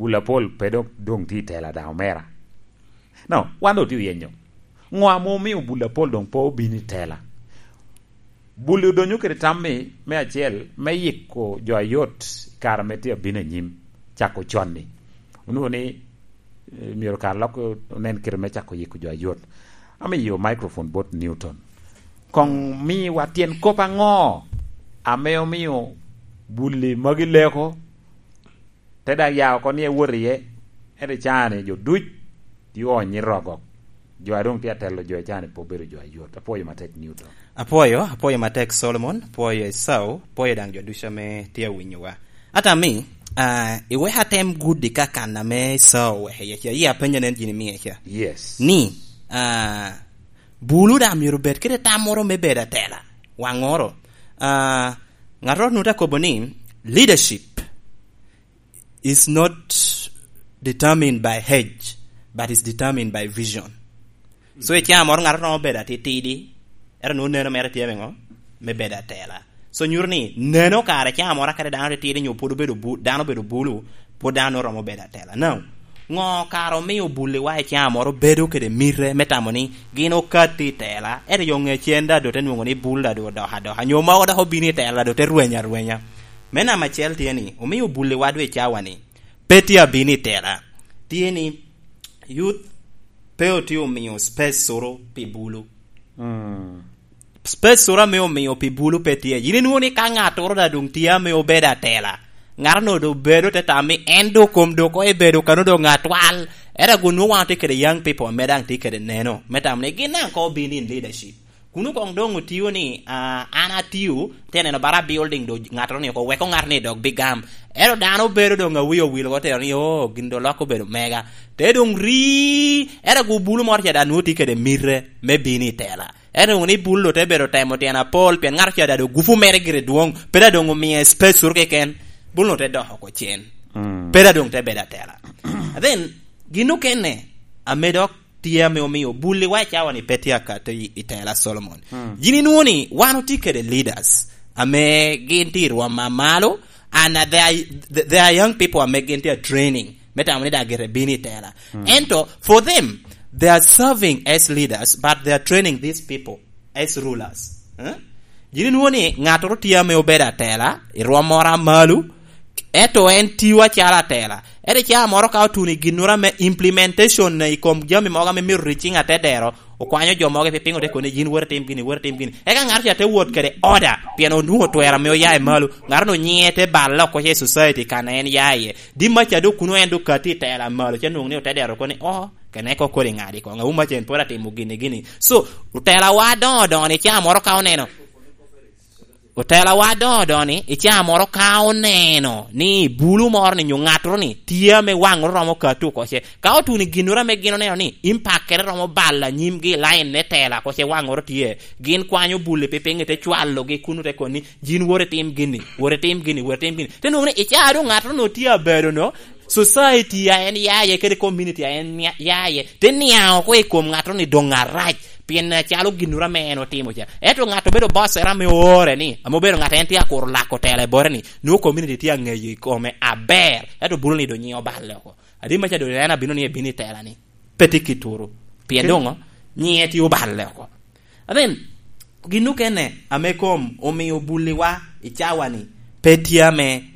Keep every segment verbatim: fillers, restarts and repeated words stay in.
Bul apol pe dok doŋ tye i tela daŋ omera. No, wan doŋ tye oyenyo. Ŋo ame omio bul apol doŋ pe obino i tela? Bul odonyo kede tam-mi, me acel, me yiko jo ayot i kare ame tye abino anyim, cako con-ni. Onwoŋo ni, eh, myero kare lok onen kite me cako yiko jo ayot. Amiyo microphone bot Newton. Koŋ miwa tyen kop aŋo ame omio bul-li magi leko, te daŋ ya oko ni ewot iye, ento i caa-ni jo duc tye oonyo i rogok. Jo a doŋ tye atelo jo i caa-ni pe obedo jo ayot. Apwoyo matek Newton. Apwoyo, apwoyo matek Solomon, apwoyo Esau, apwoyo daŋ jo ducu ame tye awinyowa. Ata mi, ah, iwek atem gudi ka kan ame Esau oweko iye ca, iya apenyo nen gin imie ca. Yes. Ni, ah, bulu daŋ myero obed kede tam moro me bedo atela. Waŋoro, ah, ŋattoro nwoŋo te kobo ni, leadership is not determined by age, but is determined by vision. So, i caa moro ŋat romo bedo atitidi, ento nwoŋo neno mere tye me ŋo? Me bedo atela. So, nyuto ni neno kare caa moro kadi dano atitidi nyo pwod obedo bu-, dano obedo bulu, pwod dano nwoŋo romo bedo atela. Now, ŋo kare omio buli wa i caa moro bedo kede mite me tamo ni gin okatti i tela, ento yo ŋe cen da do te nwoŋo ni bul da do odoko adoka, nyo mogo dok obino i tela da do te rweny arwenya? Me namba acel tye ni, omio buli wa dwe cawa ni, pe tye abino i tela. Tye ni, youth pe otye omio space oro pi bulu. Mm. Space oro ame omio pi bulu pe tye. Yin inwoŋo ni ka ŋattoro da doŋ tye ame obedo atela, ŋattoro doŋ bedo te tam ni en doŋ kom doŋ koŋ ebedo kano doŋ atwal. Era gun nwoŋo wan otye kede young people ame daŋ tye kede neno. Me tam ni gin daŋ koŋ obino in leadership. Kun koŋ doŋ otio ni, ah, an atio, te neno bara building do ŋattoro ni oko, weko ŋat ni dok bigam. Ero dano obedo doŋ awi owil oko tero ni, "Oh, gin do lok obedo mega." Te doŋ ri, ero gu bulu moro ca da nwoŋo tye kede mite me bino i tela. Ero doŋ ni bulu te bedo temo tyen apol, pien ŋato ca da do gupu mere gire dwoŋ, pe da doŋ omie space oro keken, bulu te dok oko cen. Mm. Pe da doŋ te bedo atela. And then, gin okene, ame dok tye ame omio buli wa i cawa ni pe tye akati i, i tela Solomon. Mm. Gin inwoŋo ni wan otye kede leaders ame gin tye i rwom a malo, and they are, they are young people ame gin tye a training. Me tamo ni daŋ gire bino i tela. Mm. Ento, for them, they are serving as leaders, but they are training these people as rulers. Eh? Gin inwoŋo ni ŋattoro tye ame obedo atela, i rwom moro a malo, ento en tio acalo atela. Ento i caa moro ka otuno i ginnoro ame implementation i kom jami mogo ame myero ricing atedero, okwanyo jo mogo, pe piŋo te koni, "Yin wot itim gini, wot itim gini." Eka ŋato ca te wot kede order, pien onwoŋo twero ame oya i malo. Ŋato onyiŋe te balle oko ce i society kan en ya iye. Dimma ca dok kuno en dok kati i tela malo, ce nwoŋo ni otedero koni, "Oh, kene ko kodi ŋadi koŋ, auma ce en pwod atimo gini, gini." So, otelawa adoŋo doŋo ni caa moro ka oneno, Otelawa adoŋo doŋo ni, i caa moro ka oneno ni bulu moro ni nyo ŋattoro ni tye ame waŋoro romo kati oko ce, ka otuno i ginnoro ame gin oneno ni impact-kere romo balo anyimgi i lain me tela oko ce, waŋoro tye, gin kwanyo buli pi piŋ te cwalogi kun te koni, "Yin wot itim gini, wot itim gini, wot itim gini." Te nwoŋo ni i caa doŋ ŋattoro ni otye abedo no, society a en ya iye kede community a en nia-, ya iye, te niaŋ oko i kom ŋattoro ni doŋ arac. Pien acalo ginnoro ame en otimo ca. Ento ŋat obedo boss era ame oore ni, ame obedo ŋat en tye akuro lako tela i bote ni, nwoŋo community tye aŋeyo i kome aber. Ento bulu ni do nyiŋe oballe oko. Adi maca do en abino ni ebino i tela ni. Pe tye kituru. Pien doŋo, nyiŋe tye oballe oko. Amen. Gin okene ame kom omio buliwa i cawa ni, pe tye ame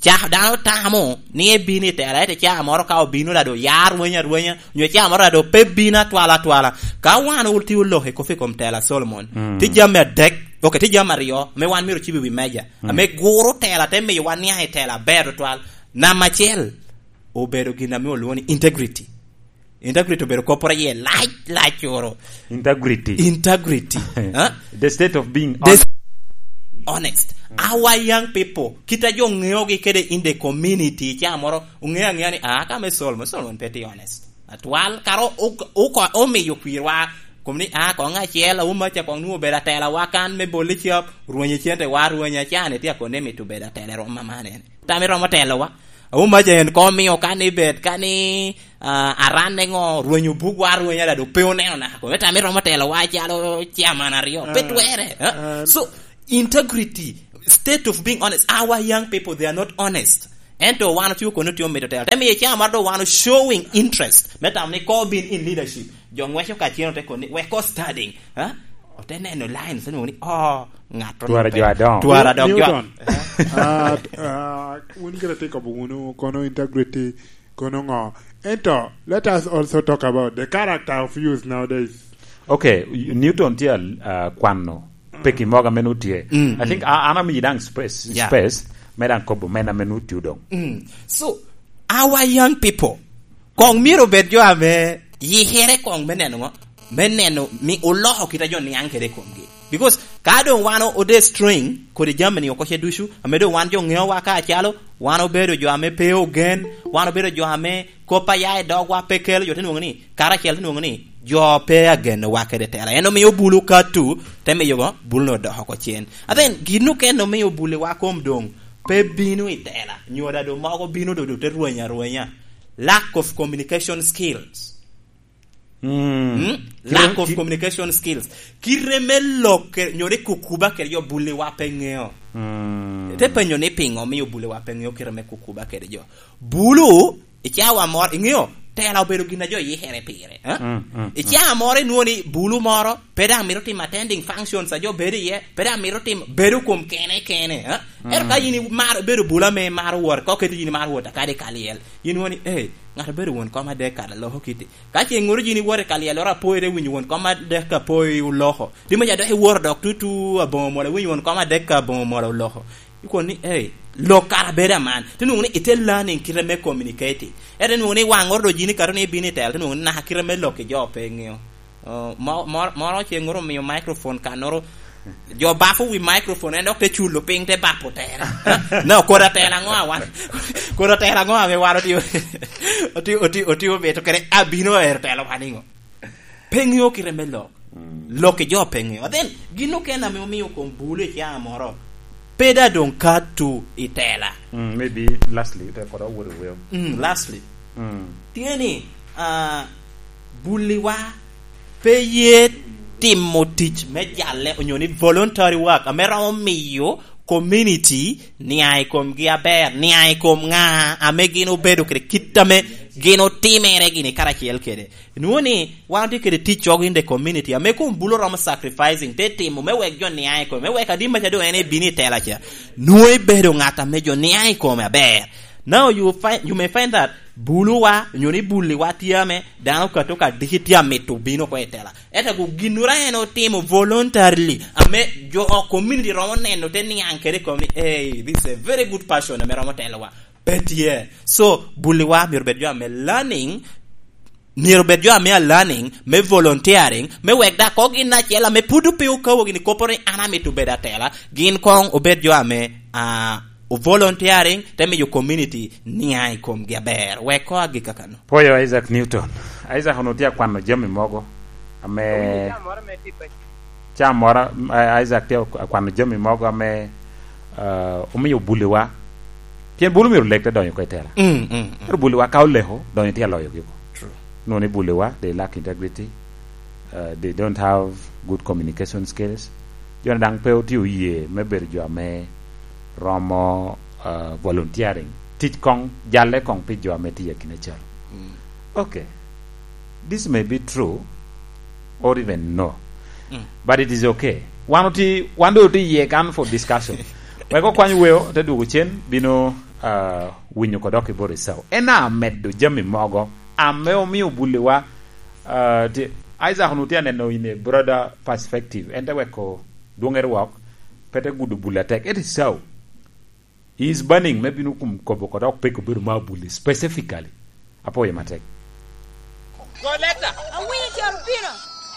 Ca dano tamo ni ebino i tela, ento ca moro ka obino, dado ya rweny arwenya, nyo ca moro dado pe bino atwala atwala. Ka wan otye oloko i kop i kom tela Solomon, mm, tye jami adek, ok, tye jami aryo, me wan myero ocibo i wi meja, mm, ame guro tela, te miyo wan niaŋ i tela aber tutwal. Namba acel, obedo gin ame olwongo ni integrity. Integrity obedo kopporo iye lac, lac oro. Integrity. Integrity. Huh? The state of being honest. Our young people, kit a jo ŋeogi kede in the community, ca moro, oŋeo aŋea ni, ah, ka me Solomon, Solomon pe tye honest. Atwal, kara o-, o-, o-, omiyo kwirwa, kom ni, ah, koŋ acel, auma ca koŋ nwoŋo obedo atela wa kan me boli cap, rwenye cente wa, rwenye acane tye akone mito bedo atela i rwom aman en. Tam iromo telo wa. Auma ca en koŋ omio ka ni bet, ka ni, ah, aranne ŋo, rwenyo buk wa, rwenyo adada, pe oneno naka kome. Tam iromo telo wa calo chairman aryo. Pe, ah, twere, eh? Ah. So, integrity, state of being honest. Our young people, they are not honest. Ento wan otio kono tio mito tela. Te miyo i caa moro do wan o showing interest. Me tamo ni ko bin in leadership. Jo ngweco ka cen ote kono ni, "Wek ko studying." Ha? Ote neno line, se nwoŋo ni, "Oh, ŋat Twara jo adongo. Twara dok jo." Newton. Ah, ah, wun gire tye kobo wunu kono integrity, kono ŋo? Ento, let us also talk about the character of youth nowadays. Okay, Newton tye, ah, kwano peki mogo ame nu tye. Mm, I think, mm. A-, an amiyi daŋ space, Yeah. space, me daŋ kobo men ame nu tye doŋ. Mm. So, our young people, koŋ myero obed jo ame yikere koŋ me neno ŋo? Me neno mi oloko kit a jo niaŋ kede i komgi. Because ka doŋ wan o-, ode string kodi jami-ni oko ce ducu, ame doŋ wan jo ŋeowa ka acalo, wan obedo jo ame pe ogen, wan obedo jo ame kop a ya i dogwa pe kelo, jo te nwoŋo ni, karacel te nwoŋo ni, jo pe agenowa kede tela. En omio bulu katu, te miyo go, bulu-nu odoko oko cen. And then, gin okene omio buliwa kom doŋ pe bino i tela. Nyoda doŋ mogo bino dodo te rweny arwenya. Lack of communication skills. Mm. Mm? Lack of Ki- communication skills. Kite me lok, nyo ni kukuba kede jo buliwa pe ŋeo. Mm. Te penyo ni piŋo omio buliwa pe ŋeo kite me kukuba kede jo. Bulu, i cawa moro, iŋeo, tela obedo gin a jo yikere pire, eh? Mm, mm, I mm. cawa moro inwoŋo ni bulu moro, pe daŋ mito timo attending functions a jo bedo iye, pe daŋ mito timo, bedo kom kene kene, eh? Ento ka Mm. in imaro bedo bulu ame imaro wot, ka oketo in imaro wot akadi ka lyel, in inwoŋo ni, "Eh, ŋat obedo won kom adek kara loko kiti." Ka ce ŋoro yin iwoto i ka lyelloro apoyi, te winyo won kom adek apoyi oloko. Di meca dok iwoto dok tutu aboŋo mola, iwinyo won kom adek aboŋo mola oloko. Ikono ni, "Ei, lok kara bedo aman." Te nwoŋo ni ite learning kite me communicating. Ento nwoŋo ni waŋoro do yin ikato ni ibino i tela, te nwoŋo ni naka kite me lok i jo pe iŋeo. Oh, mo-, mo-, moro ce ŋoro omio microphone kannoro, jo bafo wi microphone, en dok te culo piny, te bapo tere. Na okota tela ŋo awan? Kota tela ŋo ame wan otio, otio, otio, otio beto kede abino ero tela wan iŋo? Pe ŋeo kite me lok. Mm. Lok i jo pe ŋeo. Then, gin okene ame omio kom bulu i caa moro, pe da doŋ katu i tela. Mm, maybe lastly, te kod awot i weyo. Mm, lastly. Mm. Tye ni, ah, buliwa pe ye timo tic me jalle, onyo ni voluntary work, ame romo miyo community niaŋ i komgi aber, niaŋ i kom ŋa ame gin obedo kede kit ame gin otimere gini karacel kede. Nwoŋo ni wan otye kede tic cogo in the community, ame kom bulu romo sacrificing, te timo me wek jo niaŋ i kome, me wek adi meca doŋ en ebino i tela ca. Nwoŋo ibedo ŋat ame jo niaŋ i kome aber. Now you find, you may find that buluwa, onyo ni buliwa tye ame dano okato ka diki tye amito bino oko i tela. Ento ago ginnoro en otimo voluntarily, ame jo of community romo neno te niaŋ kede i kom ni, "Hey, this is a very good person ame romo telowa." Pe tye. So, buliwa myero bed jo ame learning, myero bed jo ame a learning, me volunteering, me wek dak ko gin acel ame pud pe okawo gini kopo ni an amito bedo atela, gin koŋ obed jo ame, ah, o volunteering, te miyo community niaŋ i komgi aber. Wek ko agik kakano. Pwoyo Isaac Newton. Isaac onwoŋo tye akwano jami mogo ame Awinyo caa moro me tipe. Caa moro, eh, Isaac tye akwano jami mogo ame, eh, omio buliwa. Pien bulu myero lek te donyo oko i tela. Mm, mm, mm. Ento buliwa ka oleko, donyo tye aloyogi oko. True. Nwoŋo ni buliwa, they lack integrity. Uh, they don't have good communication skills. Jo-ni daŋ pe otye oye me bedo jo ame romo, uh, volunteering. Tic koŋ, jalle koŋ pi jo ame tye i akina cal. Mm. Okay. This may be true or even no. Mm. But it is okay. Wan oti-, wan do oti iye kan for discussion. Wek okwany weo, te dwogo cen, bino, uh, winyo kodok i bor i sao. En amedo jami mogo ame omio buliwa, uh, ti-, Isaac onwoŋo tye aneno in a broader perspective. En te weko dwoŋere wok, pe te gudo bul atek. It is so. He is burning, me bino kum kobo kodok peko bedo ma buli specifically. Apwoyo matek. Go leta. Awinyo caro pino.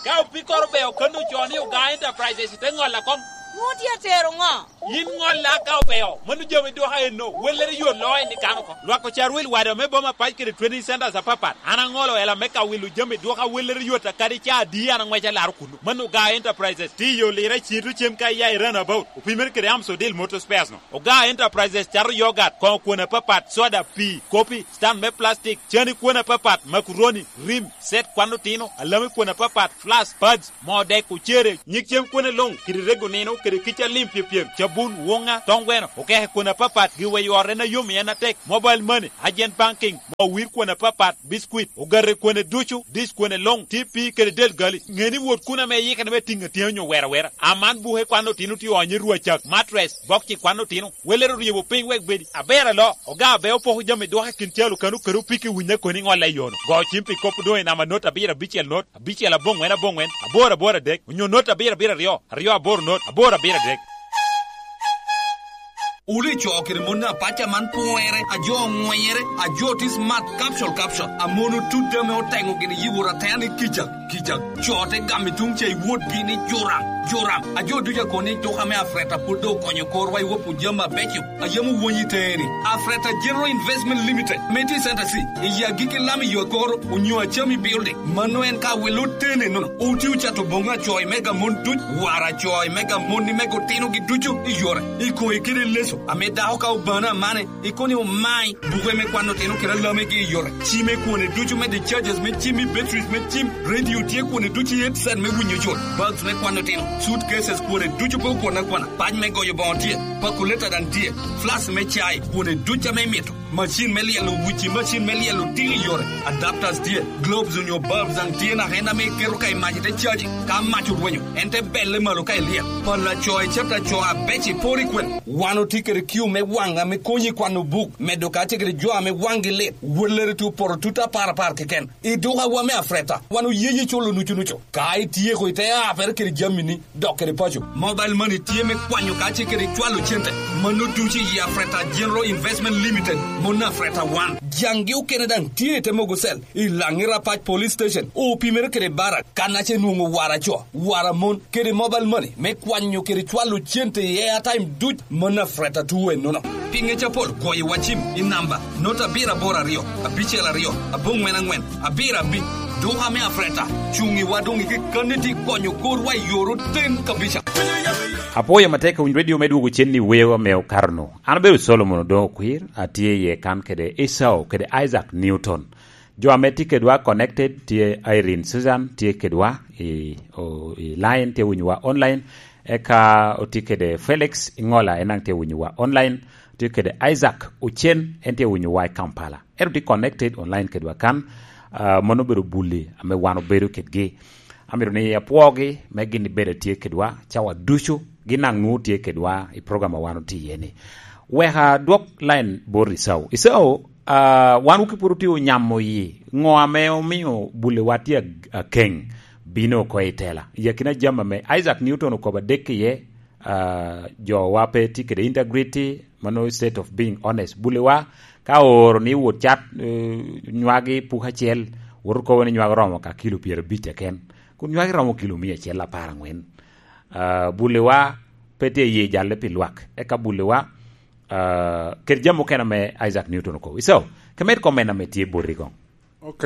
Ka opikoro beo kono ocoo ni Ogaa Enterprises te ŋolla kom. Nwoŋo tye atero ŋo? Yin ŋolla ka obeo, mano jami dwoka enno, wellere yot loo en i kano oko. Lwak ocar wil wada me boma pac kede training centers apapat. An aŋolo ela me ka wilo jami dwoka wellere yot akadi ca adi an aŋweco alaro kuno. Mano Ogaa Enterprises, tiyo lira cito cem ka iya i runabout. Opimere kede Amsodil Motor Spares no. Ogaa Enterprises cato yogat, koŋo kwon apapat, soda, pii, kopi, stand me plastic, cani kwon apapat, makuroni, rim, set kwan otino, alami kwon apapat, flask, pads, moo dek, ocere, nyig cem kwone luŋ, kede rego nino, kede kica lim pyepyem, bun, woŋa, toŋ gweno, okeke kwone apapat, giweyo ot en ayom i en atek, mobile money, agent banking, moo wir kwone apapat, biscuit, ogate kwone ducu, dish kwone luŋ, T P kede del gali. Ŋe ni wot kun ame iyikere me tiŋ atyeni onyo wera wera. Aman buke kwan otino tye onyo i rwacak, mattress, bokci kwan otino. Welere oryebo piny wek bedi. Aber alo, oga abe opoko jami dwoko i kin calo kano kede opiki winye koni ŋolle i yono. Go cim pi kop doŋ i namba not abiro abicel not, abicel aboŋwen aboŋwen, aboro aboro adek, onyo not abiro abiro aryo, aryo aboro not, aboro abiro adek. Wulu i co kede mon apac aman pwere, a jo oŋwenyere, a jo tye smart, capsule, capsule. A mon otut ame oteŋo gini yibo ratene kica, kica. Co te gamo i tuŋ ca i wotgi ni juram, juram. A jo ducu a koni duka me Afreta pwod doŋ okonyo korwa i wopo jami abeco a yam owony i teŋe-ni. Afreta General Investment Limited, me tye i Center C, i agikki lam i yo akoro, onyo Acami Building. Mano en ka wel otene nono. Oti ocato boŋo acoy mega mon duc, wara acoy mega mon ni mega otinogi ducu i yore. I koŋe kede leso, ame dako ka obano amane, i koni omai, buke me kwano otino kede alamegi i yore. Cime kwone ducu me discharges me cim i batteries me cim, radio tye kwone ducu i headset me winyo jol, bags me kwano otino, suitcases kwone ducu pe okwon akwana, pac me goyo boŋo tye, pakuleta daŋ tye, flask me cai kwone ducu ame imito. Macin me lyelo wici, macin me lyelo tiki i yore, adapters tye, globes onyo bulbs daŋ tye naka en ame iketo ka i mac ite caji. Ka mac orwenyo, en te belle malo ka ilyel. Pala co icata co abeco iporo i kwene. Wan otye kede kiu me waŋ ame konyi i kwano buk, medo kacel kede jo ame waŋgi lit. Wellere tye opoto tut apar apar keken. I dukawa me Afreta, wan oyeyo culo nucu nucu. Ka ityeko ite apere kede jamini, dok kede paco. Mobile money tye me kwanyo kacel kede cwalo cente. Mano ducu i Afreta General Investment Limited, mon Afreta wan. Jaŋgi okene daŋ tye i te mogo cell, i Laŋi Rapac Police Station, opimere kede Barak, kan ace nwoŋo wara co, wara mon, kede mobile money me kwanyo kede cwalo cente i airtime duc, mon Afreta tuo ennono. Pi ŋec apol, goyo wa cim i namba not abiro aboro aryo, abicel aryo, aboŋwen aŋwen, abiro abic. Duka me Afreta, cuŋ iwa doŋ i kekkanni tye konyo korwa i yor oten kabisa. Apwoyo matek winy redio me dwogo cen i weyo ame okato-nu. An abedo Solomon Odoŋo Okwir, atye iye kan kede Esau kede Isaac Newton. Jo ame tye kedwa connected tye Irene Susan, tye kedwa i, o, i line, tye winyowa online. Eka otye kede Felix Iŋola, en daŋ tye winyowa online. Tye kede Isaac Ocen, en tye winyowa i Kampala. Ento tye connected online kedwa kan. Ah, mano obedo bulli ame wan obedo kedgi. Amito ni apwogi me gin bedo tye kedwa cawa ducu, gin daŋ nwoŋo tye kedwa i program a wan otye iye-ni. Wek adwok line bot Esau. Esau, ah, wan wuki pwod otye onyamo yi. Ŋo ame omio bulliwa tye ag-, akeŋ bino oko i tela? I akina jami ame Isaac Newton okobo adek iye, ah, jowa pe tye kede integrity, mano state of being honest. Bulliwa ka ooro ni wot cat, eh, nywagi puk acel, woto kobo ni nywagi oromo ka kilo pyerabic keken. Kun nywagi romo kilo mia acel apar aŋwen. Ah, bulliwa pe tye iye jalle pi lwak. Eka bulliwa, ah, kede jami mukene ame Isaac Newton okobo. Iso, ke med comment ame tye boti koŋ. Ok,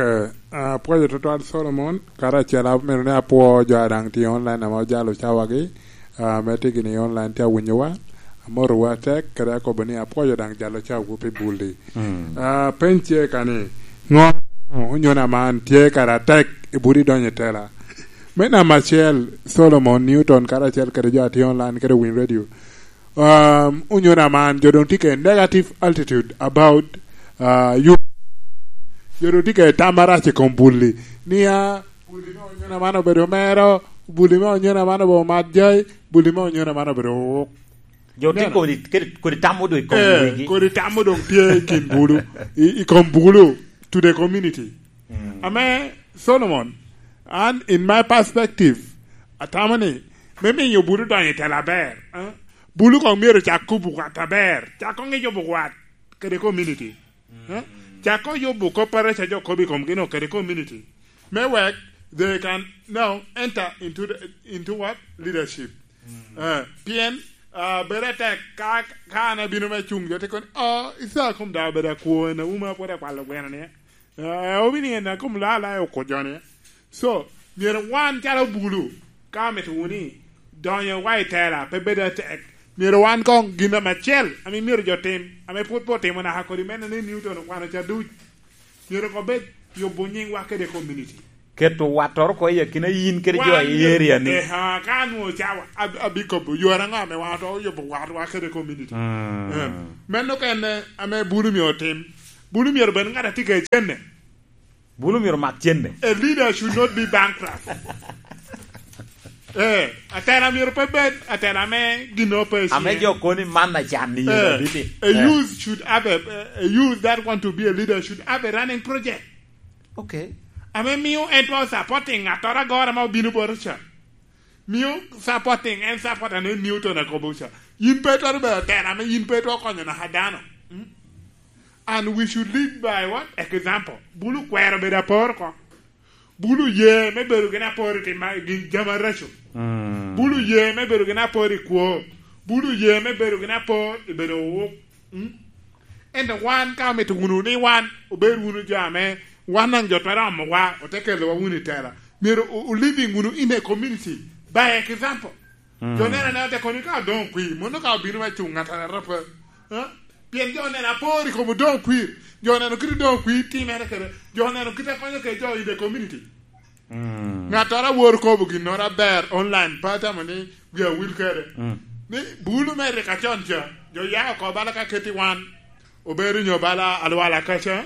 ah, apwoyo tutwal Solomon, karacel amito ni apwo jo a daŋ tye online ame ojalo cawagi, ah, ame tye gini online tye awinyowa, amotowu atek, kede akobo ni apwoyo daŋ jalo cawawu pi bulli. Mm. Ah, peny tye ka ni, ŋo onyono aman tye kara atek i budi donyo i tela? Me namba acel, Solomon Newton karacel kede jo a tye online kede Win Radio. Um, onyono aman, jo doŋ tye kede negative attitude about, uh, you. Jo doŋ tye kede tam marac i kom bulli. Nia, bulli me onyono aman obedo mero, bulli me onyono aman obedo mat jai, bulli me onyono aman obedo wuk. Jo tye kodi, kodi, kodi tam odong i kom wigi. Eh, kodi tam odong tye i kin bulu, i, i kom bulu, to the community. Mm. Ame, Solomon, an, in my perspective, atamo ni, me miyo bulu donyo i tela aber, eh? Bulu koŋ myero cak kobo wat aber, cak koŋ ijubo wat kede community. Eh? Cak koŋ yubo kop a reca jo kobo i komgi no kede community. Me wek they can now enter into the, into what? Leadership. Eh, pien, ah, bedo atek ka, ka an abino me cuŋ, jo te kono, "Oh, Isaac kom daŋ obedo akwo, en auma pwod akwalo gweno ni." Eh, obiniŋo en akom laa laa oko jo ni. So, myero wan calo bulu, ka mito wunu ni donyo wa i tela, pe bedo atek. Myero wan koŋ gin ame acel, ame myero jo tim, ame pwod pe otimo naka kodi mene ni Newton okwano ca duc. Myero koŋ bed yubo nyiŋwa kede community. Keto wattoro oko i akina yin kede jo i area ni. Eh, ha, ka anwoŋo cawa, ab-, abikobo, yore aŋo ame wan otwero yubo watwa kede community? Mm. Eh, meno kene ame Bulu myero otim. Bulu myero bed ŋat a tye kede cente. Bulu myero mak cente. A leader should not be bankrupt. Eh, atela myero pe bed atela ame gin ope ame jo koni man na can ni. Eh, a youth should have a, a youth that want to be a leader should have a running project. Okay. Ame mio en twero supporting ŋattoro agora ma obino bota ca. Mio supporting, en support ane Newton akobo ca. Yin pe twero bedo atela ame yin pe twero konyo naka dano. Mm? And we should lead by what? Example. Bulu kwero bedo apor oko. Bulu ye me bedo gin apor i tim ma gin jami araco. Mm. Bulu ye me bedo gin apor i kwo. Bulu ye me bedo gin apor i bedo owuk. Mm? Ento wan ka omito wunu ni wan obed wunu jo ame wan daŋ jo twero omowa, ote kelowa wunu i tela. Myero o-, o living wunu in a community by example. Mm. Jo neno anena te koni ka odoŋ kwir, mono ka obino me cuŋ ŋat anata pe. Ha? Pien jo neno apor i kom odoŋ kwir. Jo neno kit odoŋ kwir timere kede. Jo neno kit akonyo kede jo in the community. Mm. Ŋattoro awor kobo ginnoro aber online, pe atamo ni wi awil kede. Mm. Ni bulu me rik acon ca, jo ya oko bala ka keti wan, obedo nyo bala alwala kaca.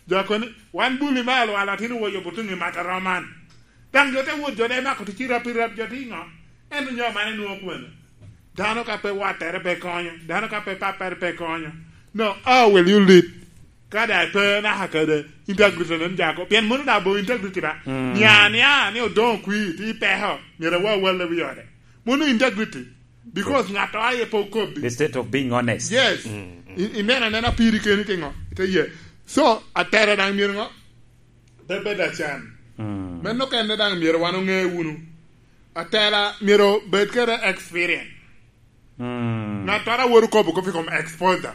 Jo koni, wan bulu me alwala tin woyo butuŋ i mata roman. Daŋ jo te wot jo de mako tic i rap i rap jo ti ŋo? Ento nyo man enwoŋo kwene? Dano ka pe wattere pe konyo, dano ka pe pappere pe konyo. No, how will you lead? Ka da pe naka kede integrity nen jako. Pien mono da bo integrity ba. Mm. Nia, nia, ni odoŋ kwi, ti peko, myero awa wale wi ode. Mono integrity. Because ŋato aye pe okobbi. The state of being honest. Yes. Mm, mm. I, ineno anena piri keni ti ŋo? Ite ye. So, atera daŋ myero ŋo? Te bed acan. Mm. Meno kene daŋ myero wan oŋe wunu. Atela myero bed kede experience. Mm. Ŋattoro a wot okobo kop i kom exposure.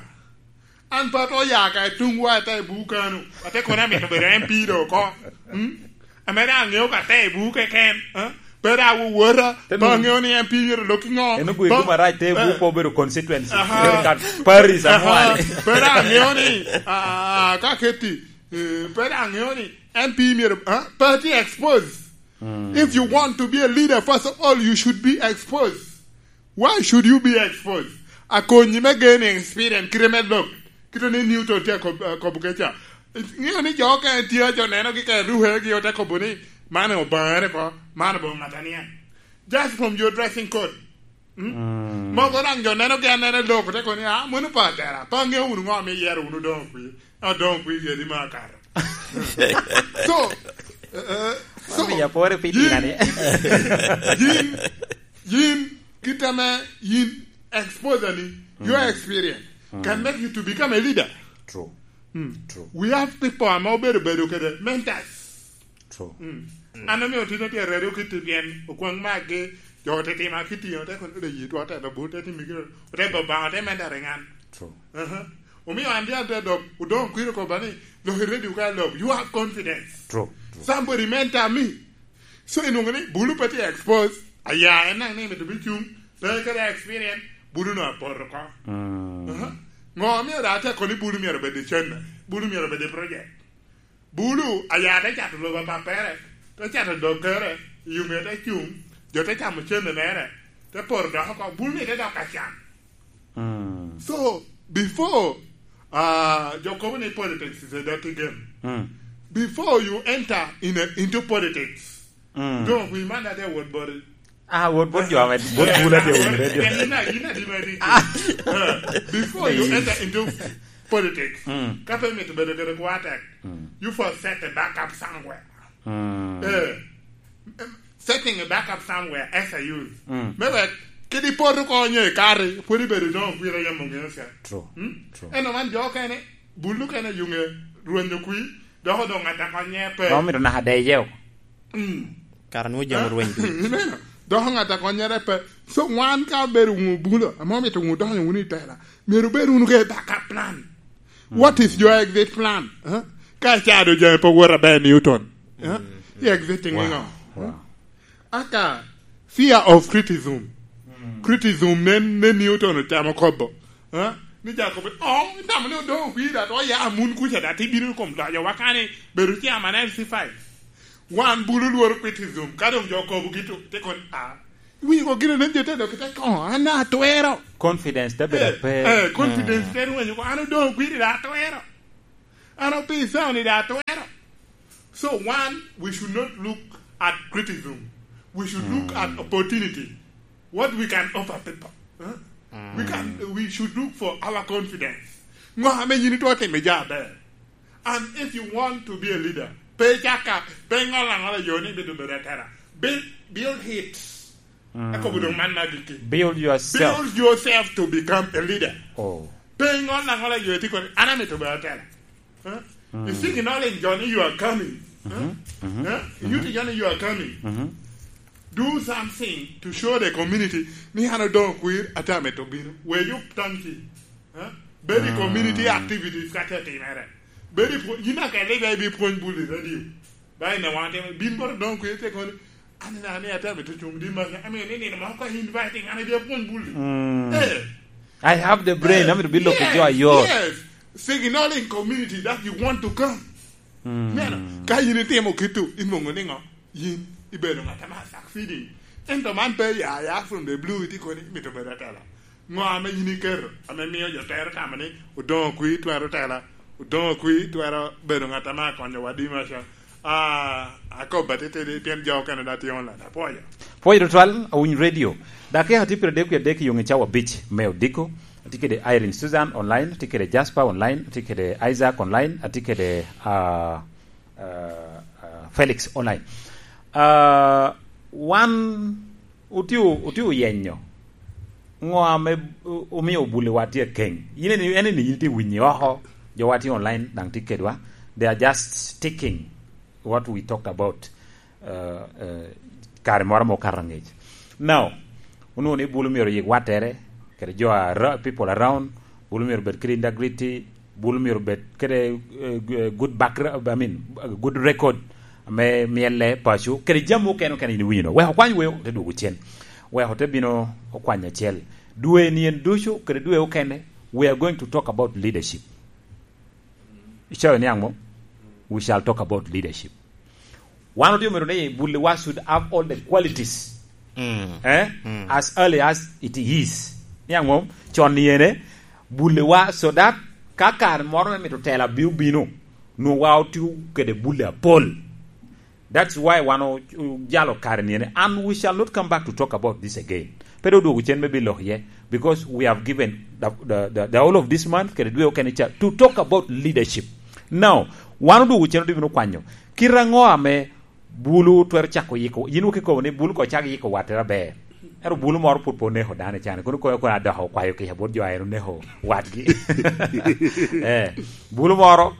An pe atwero ya ka i tuŋ wa ata i buk kano, ate kono amito bedo M P do oko. Mm? Ame daŋ aŋeo ka ata i buk keken, eh? Pe daŋ awowota, pe aŋeo ni M P myero lok i ŋo. En ogwego marac te i buk, eh, pe obedo constituency. Aha. Obedo ka Paris, aha, amwali. Pe daŋ aŋeo ni, ah, ka keti, eh, pe daŋ aŋeo ni M P myero, ah, pe atye expose. Mm. If you want to be a leader, first of all, you should be exposed. Why should you be exposed? Akonyi me gaining experience, kite me lok, kite ni Newton tye akob-, akobo keca. Ŋeo ni jo okene tye, jo nenogi ka ruhegi ote kobo ni, "Man obaŋere ko, man obaŋ ŋat anian." Just from your dressing code. Mm? Mm. Mogo daŋ jo nenogi anena i lok, ote kobo ni, "Ah, mano pe atera, pe aŋeo wunu ŋo ame iyero wunu doŋ kwi." Adongo kwir yadi me akato. So, eh, eh, so, wan omiyo apore pi yin, tina ni. Yin, yin, kit ame yin exposure ni, your experience can make you to become a leader. True. Mm. True. We have people ame obedo bedo kede mentors. True. Mm. An omio tin otye redo kiti pien okwaŋ magi, jo ote tima kiti, ote kono de yitwa, ote lobo, ote timi kiti, ote boba, ote mentoring an. True. Aha. Omio an tye adok, odoŋ kwiri koba ni, "Lok i radio ka lok, you have confidence." True, true. Somebody mentor me. So, inwoŋo ni, bulu pe tye expose, aya, en naŋ ni mito bi cuŋ, pe kede experience, bulu no apoto oko. Mm. Aha. Ŋo omio da ate kono ni bulu myero obed i cene, bulu myero obed i project? Bulu, aya te cato lobo a pappere, te cato dokkere, i ŋe te cuŋ, jo te camo cene mere, te poro dok oko, bulu ni te dok acan. Mm. So, before, uh, jo kobo ni politics is a dirty game. Mm. Before you enter in a, into politics, mm, doŋ wi man ade wot boti. Ah, wot, wot jo ame, wot bula tye wun radio. Yin a, yin a di ma di. Ah. Uh, before you enter into politics, mm, ka pe mito bedo kede kwa tek, mm, you first set a backup somewhere. Mm. Eh, setting a backup somewhere as a youth. Mm. Me wek, kede poto konyo i kare, pwod ibedo doŋ kwira yam oŋeo ca. True. Mm? True. Eno man jo kene, bulu kene yuŋe, rwenyo kwi, dok odoŋ ata konye pe. Ma omito naka deye. Mm. Kara nwoŋo jami rweny ducu. Ineno? Dok ŋat a konnyere pe. So, wan ka obedo wunu bulo, ame omito wunu donyo wunu i tela, myero obed wunu kede backup plan. Mm. What is your exit plan? Huh? Ka icado jami pe wot aber, Newton. Huh? Mm. I exiting i ŋo? Wow. Aka fear of criticism. Mm. Criticism nen, nen Newton ocamo kobo. Huh? Ni ja kobo, "Oh, itamo ni odoŋ opii da, to ya mun kuca da, tibino i kom loyo wa kani, bedo chairman L C five." Wan bulu lworo criticism, ka dong jo kobo gitu, te kon, ah, iwinyo ko gino nen jo te dok te kon, "An atwero." Confidence te bedo Eh, ape. eh, confidence Eh. te rwenyo ko, "An odong kwiri da atwero. An opisa ni da atwero." So one, we should not look at criticism. We should look at Mm. opportunity. What we can offer people. Huh? We can, Mm. we should look for our confidence. Ngo ame yin itwero timo ja aber. And if you want to be a leader, pe caka, pe ŋol aŋola yo ni bido bedo atera. Build, build it. Mm. Akobo dong man ma gikki. Build yourself. Build yourself to become a leader. Oh. Pe ŋol aŋola yo ti koni, "An amito bedo atera." Huh? Mm. You think in all in Johnny you are coming. Huh? Mm-hmm. Mm-hmm. Huh? You Mm-hmm. think Johnny you are coming. Mm-hmm. Do something to show the community ni an odong kwir, ate amito bino. Where you thank you. Huh? Bedi Mm. community activities ka te timere. Bedi pwo-, yin aka leader ibi pwony bul i radio. Ba ine wan te bin boro dong kwe te koni, "Ani na ni ate amito cung di maka. Ami ni ni mo ko inviting, ani dia pwony bul." Mm. Eh. I have the brain, Eh, amito bilo ki yes, jo ayot. Yes. Signaling community that you want to come. Mm. Neno, ka yin itimo kitu, in mongo ni ngo? Yin ibedo ŋat ame succeeding. Ento man pe ya, ya from the blue, iti koni, "Mito bedo atela." Ŋo ame yin iketo, ame mio jo tero tamo ni, "Odoŋo kwi twero tela, odoŋo kwi twero bedo ŋat ame akonyo wadi maca?" Ah, akobo atitidi, pien jo okene da tye online. Apwoyo. Pwoyo tutwal, Awiny Radio. Dakika tye piero adek wie adek i yoŋe cawa abic me odiko. Atye kede Irene Susan online, atye kede Jasper online, atye kede Isaac online, atye kede, ah, ah, ah, Felix online. Ah, wan otye, otye oyenyo ŋo ame o-, omio bulewa tye akeny. Yin en, en ni yin tye winyi oko, jowa tye online daŋ tye kedwa. They are just sticking what we talked about, uh, uh, kare moro ma okato angec. Now, onwoŋo ni bulu myero oyik wattere, kede jo ara-, people around, bulu myero obed kede integrity, bulu myero obed kede, eh, eh, good background, I mean, good record, ame myelle paco, kede jami okene okene yin iwinyo no. Wek okwany weo, te dwogo cen. Wek ote bino okwany acel. Dwe ni en ducu, kede dwe okene, we are going to talk about leadership. Icayo niaŋ mo? We shall talk about leadership. Wan otye omito ni bulewa should have all the qualities. Mm. Eh? Mm. As early as it is. Niaŋ mo? Con ni ene, bulewa, so that ka kare moro me mito tela bi obino, nwoŋo wa otye kede bule apol. That's why wan o-, ojalo kare ni ene. And we shall not come back to talk about this again. Pe dok odwogo cen me bilo iye, because we have given the, the, the, the whole of this month, kede dwe okene ca, to talk about leadership. Now, wan odwogo cen odwogo bino kwanyo. Kit aŋo ame bulu twero cako yiko? Yin wok ikobo ni bulu ko cak yiko wattere aber. Ero bulu moro pwod pe oneko dano i can. Kono kono, kono adoko okwayo kica bot jo a en oneko watgi. Eh, bulu moro,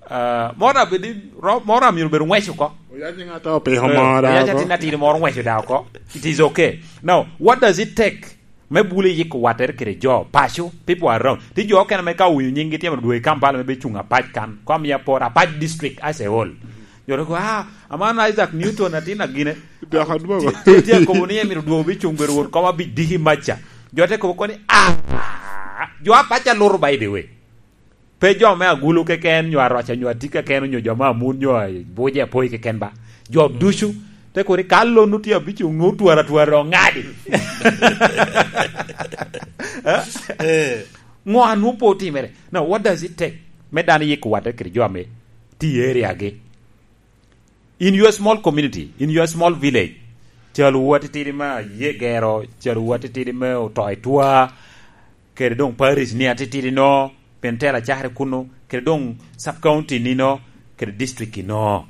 ah, moro abedi, ro-, moro amyero bedo ng'wec oko. Oyac ni ŋat a opiko Eh, moro oyac oko. Atin atin moro ng'weco da oko. It is okay. Now, what does it take me bulu yiko wattere kede jo paco, people around? Ti jo okene me ka owinyo nyinggi tye mito dwogo i Kampala me becuŋ apac kan, kom ya por apac district as a whole. Jo dok, "Ah, aman Isaac Newton atin agine." Dok adwogo. Ti, ti, ti akobo ni emito dwogo bi cuŋ bedo won kom abic diki maca. Jo te kobo koni, "Ah, jo apac aluto by the way." Pe jo me agulu keken, nyo aroca, nyo atik keken, onyo jo me amun, nyo buce apoi keken ba. Jo ducu, te koni ka lon otye abic, onwo twara twara oŋadi. Eh? Eh. Ŋo anwo pe otimere? Now, what does it take me dano yiko wattere kede jo ame tye i area gi? In your small community, in your small village, calwu atitidi me aye gero, calwu atitidi me oto i twa, kede doŋ parish ni atitidi no, pentela cakere kuno, kede doŋ sub county ni no, kede district no.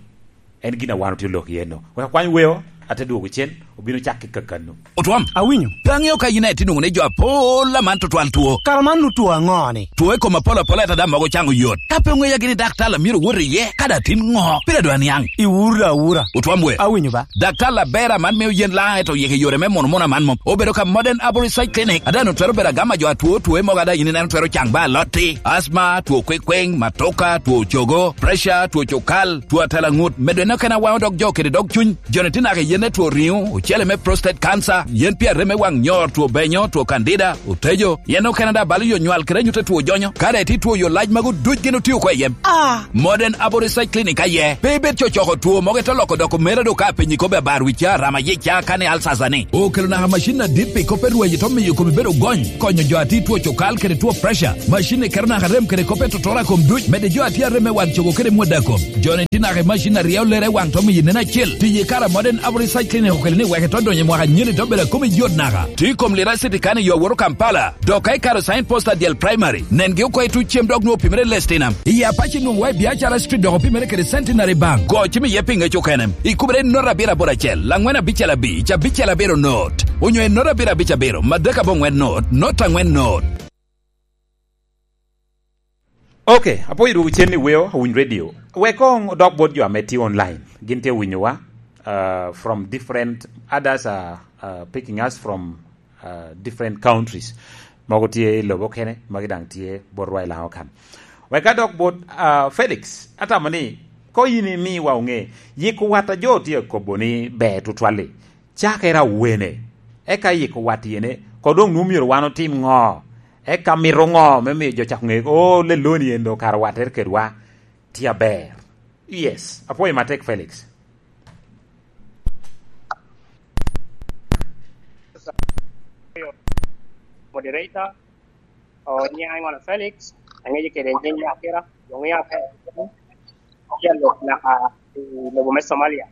En gin a wan otye olok iye no. Wek akwany weo, ate dwogo cen, obino cak ki kakano. Otwom. Awinyo. Pe aŋeo ka yin aye tye nwoŋo ni jo apol aman tutwal two. Kara man nu two aŋo ni? Two i kom apol apol ata daŋ mogo caŋo yot. Ka pe oŋeya gini daktar a myero wot iye, ka daŋ tin ŋo? Pire dwa niaŋ. Iwuro da awura. Otwom we. Awinyo ba. Daktar aber aman mio yen laŋ eto yeke yore me mono mono aman mom. Obedo ka Modern Arborist Side Clinic. Ada no twero bedo agama jo atwo two mogo ada yin ineno twero caŋ ba alotti. Asma, two kwekweng, matoka, two cogo, pressure, two cukal, two atela ŋut. Medo en okene awaŋo dog jo kede dog cuny. Joni tye naka i Ne two riŋo, ocele me prostate cancer, yen pi arem me waŋ nyor, two benyo, two candida, otejo, yen okene daŋ balo yo nywal kede anyut a two jonyo. Ka daŋ itye two yo lac magu duc gin otio oko i yem. Ah! Modern Abo Research Clinic aye. Pe ibed cocoko two mogo ite loko doko mere do ka penyi kobbe abar wicca, rama yica, kani alsasa ni. Okelo naka macin adit pi kop e rweny ito miyo kome bedo gony, konyo jo a tye two cokal kede two pressure. Macin ni keto naka rem kede kop e totoro a kom duc, medde jo a tye arem me wan cogo kede mwada kom. Jo ni tye naka i macin a ryeo lere i waŋ to miyo nen acel. Tiye kara Modern Abo Research Clinic okelo ni wek ito donyo i mwaka nyeni to bedo a kom i yot naka. Tye i kom Lira City kan i yo awoto Kampala. Dok ka ikaro sign post adyel primary, nengi oko i tuc cem dok nwoŋo opimere i Lestinam. I Apache nwoŋo wa i Biacara Street dok opimere kede Centenary Bank. Go cim iye pi ŋec okene. Ikubere i not abiro aboro acel, angwen abicel abic, abicel abiro not. Onyo i not abiro abic abiro, madek aboŋwen not, not angwen not. Ok, apwoyo dwogo cen i weo, awiny radio. Wek koŋ odok bot jo ame tye online. Gin tye winyowa, uh, from different, others are, uh, picking us from, uh, different countries. Mogo tye i lobo kene, magi daŋ tye bot rwa i Laŋo kan. Wek adok bot, uh, Felix, atamo ni, ko yin imiwa oŋe, yiko wat a jo tye akobo ni ber tutwal-li, cakere awene, eka yiko wat yene, ko doŋ nwoŋo myero wan otim ŋo? Eka mito ŋo me miyo jo cako ŋe, "Oh, lelloni en doŋ kara wattere kedwa tye aber"? Yes, apwoyo matek, Felix. Moderator, oh, nyiŋa Imana Felix, aŋejo kede nyiŋ Nyakira, jo ŋeo ape, aye alok naka i lobo me Somalia.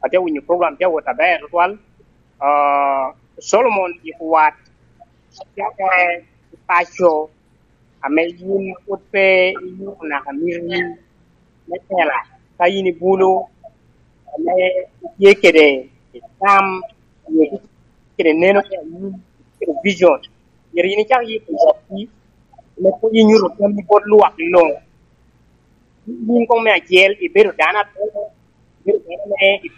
Atye winyo program tye awot aber tutwal. Ah, Solomon yiko wat, cakere i paco ame yin pwod pe iyuto naka miti me tela, ka yin i bulu ame itye kede tam, kede neno me anyim, kede vision, myero yin icak yiko watgi, ame pwod inyuto tammi bot lwak luŋ. Yin koŋ me acel, ibedo dano atwero, ibedo dano me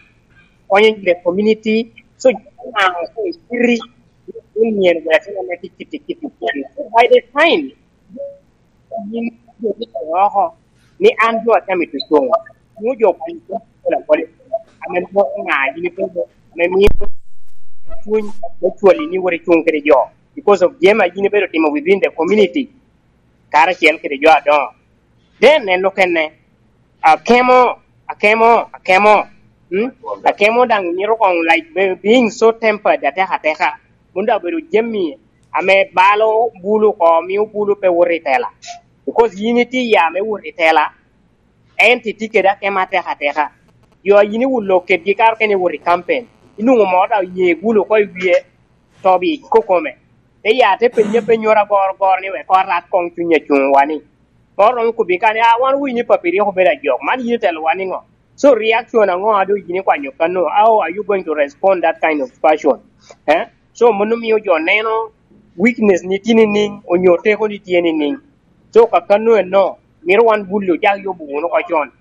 konyo the community. So, ŋaŋ ko iciti, ni myero bed atimo me kiti, kiti, kiti. So, by the time yin jo ni oko ni an jo atamo i tucuŋ, nwoŋo jo pwony apola apola, ame nwoŋo ŋa yin ibedo, ame mio cuny me cwali ni wot icuŋ kede jo, because of jami a yin ibedo timo within the community, karacel kede jo adoŋo. Then en okene, akemo, akemo, akemo, mm? Akemo daŋ mito koŋ, like, be-, being so tempered atek ateka. Mom daŋ obedo jami ame balo bulu oko, mio bulu pe wot i tela. Because yin itye ya me wot i tela, ento itye kede akemo atek ateka. Jo a yin iwulo kedgi kare okene iwot i campaign, inwoŋo moro daŋ oye bulu oko i wie, to bi kokome. Te ya te penye apenyoro agoro goro ni wek orat koŋ cuny acuŋ wa ni. Moro romo kobbi ka ni, "Ah, wan winy ni papi rik obedo ajok, man yin itelo wa niŋo?" So reaction aŋo a doŋ yin ikwanyo kano? How are you going to respond that kind of fashion? Eh? So mano mio jo neno weakness ni tye niŋ, onyo teko ni tye niŋ. So ka kano eno, mito wan bulu ojak yubo wunu oko con.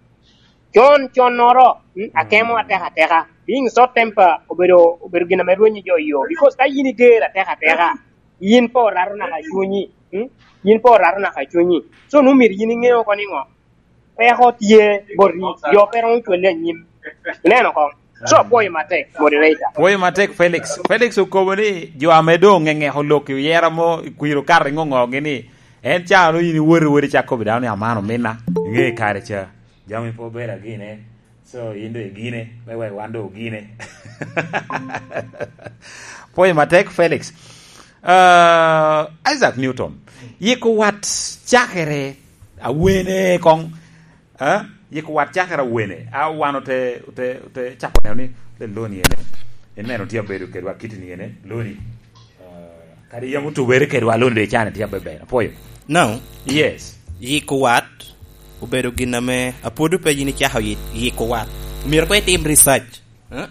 Con, connoro, mm, akemo atek ateka. Being short temper obedo, obedo gin ame rwenyo jo i yo. Because ka yin iger atek ateka, yin pe orato naka cunyi, mm? Yin pe orato naka cunyi. So, nwoŋo myero yin iŋe oko niŋo? Peko tye boti, jo pe romo cwali anyim. Ineno koŋ? So, apwoyo matek, moderator. Pwoyo matek, Felix. Felix okobo ni jo ame doŋ ŋeŋeko lok i oyera mo, kwir okato i ŋoŋogi ni, en ca no yin iwoti, iwoti cak kobbi dano ni, "Aman omina." Iŋe kare ca. Jami pe obedo agine. So, yin doŋ igine, me wek wan doŋ ogine. Pwoyo matek, Felix. Ah, Isaac Newton, yiko wat cakere awene koŋ, ah, yiko wat cakere awene. A wan ote, ote, ote cako neno ni, "Le loni ene, en mere tye abedo kedwa kiti ni ene, loni." Ah, kadi yam otubere kedwa, lon de can tye abeber. Apwoyo. Now, yes. Yiko wat obedo gin ame apwodo pe yin icako yi-, yiko wat. Myero koŋ itim research. Eh?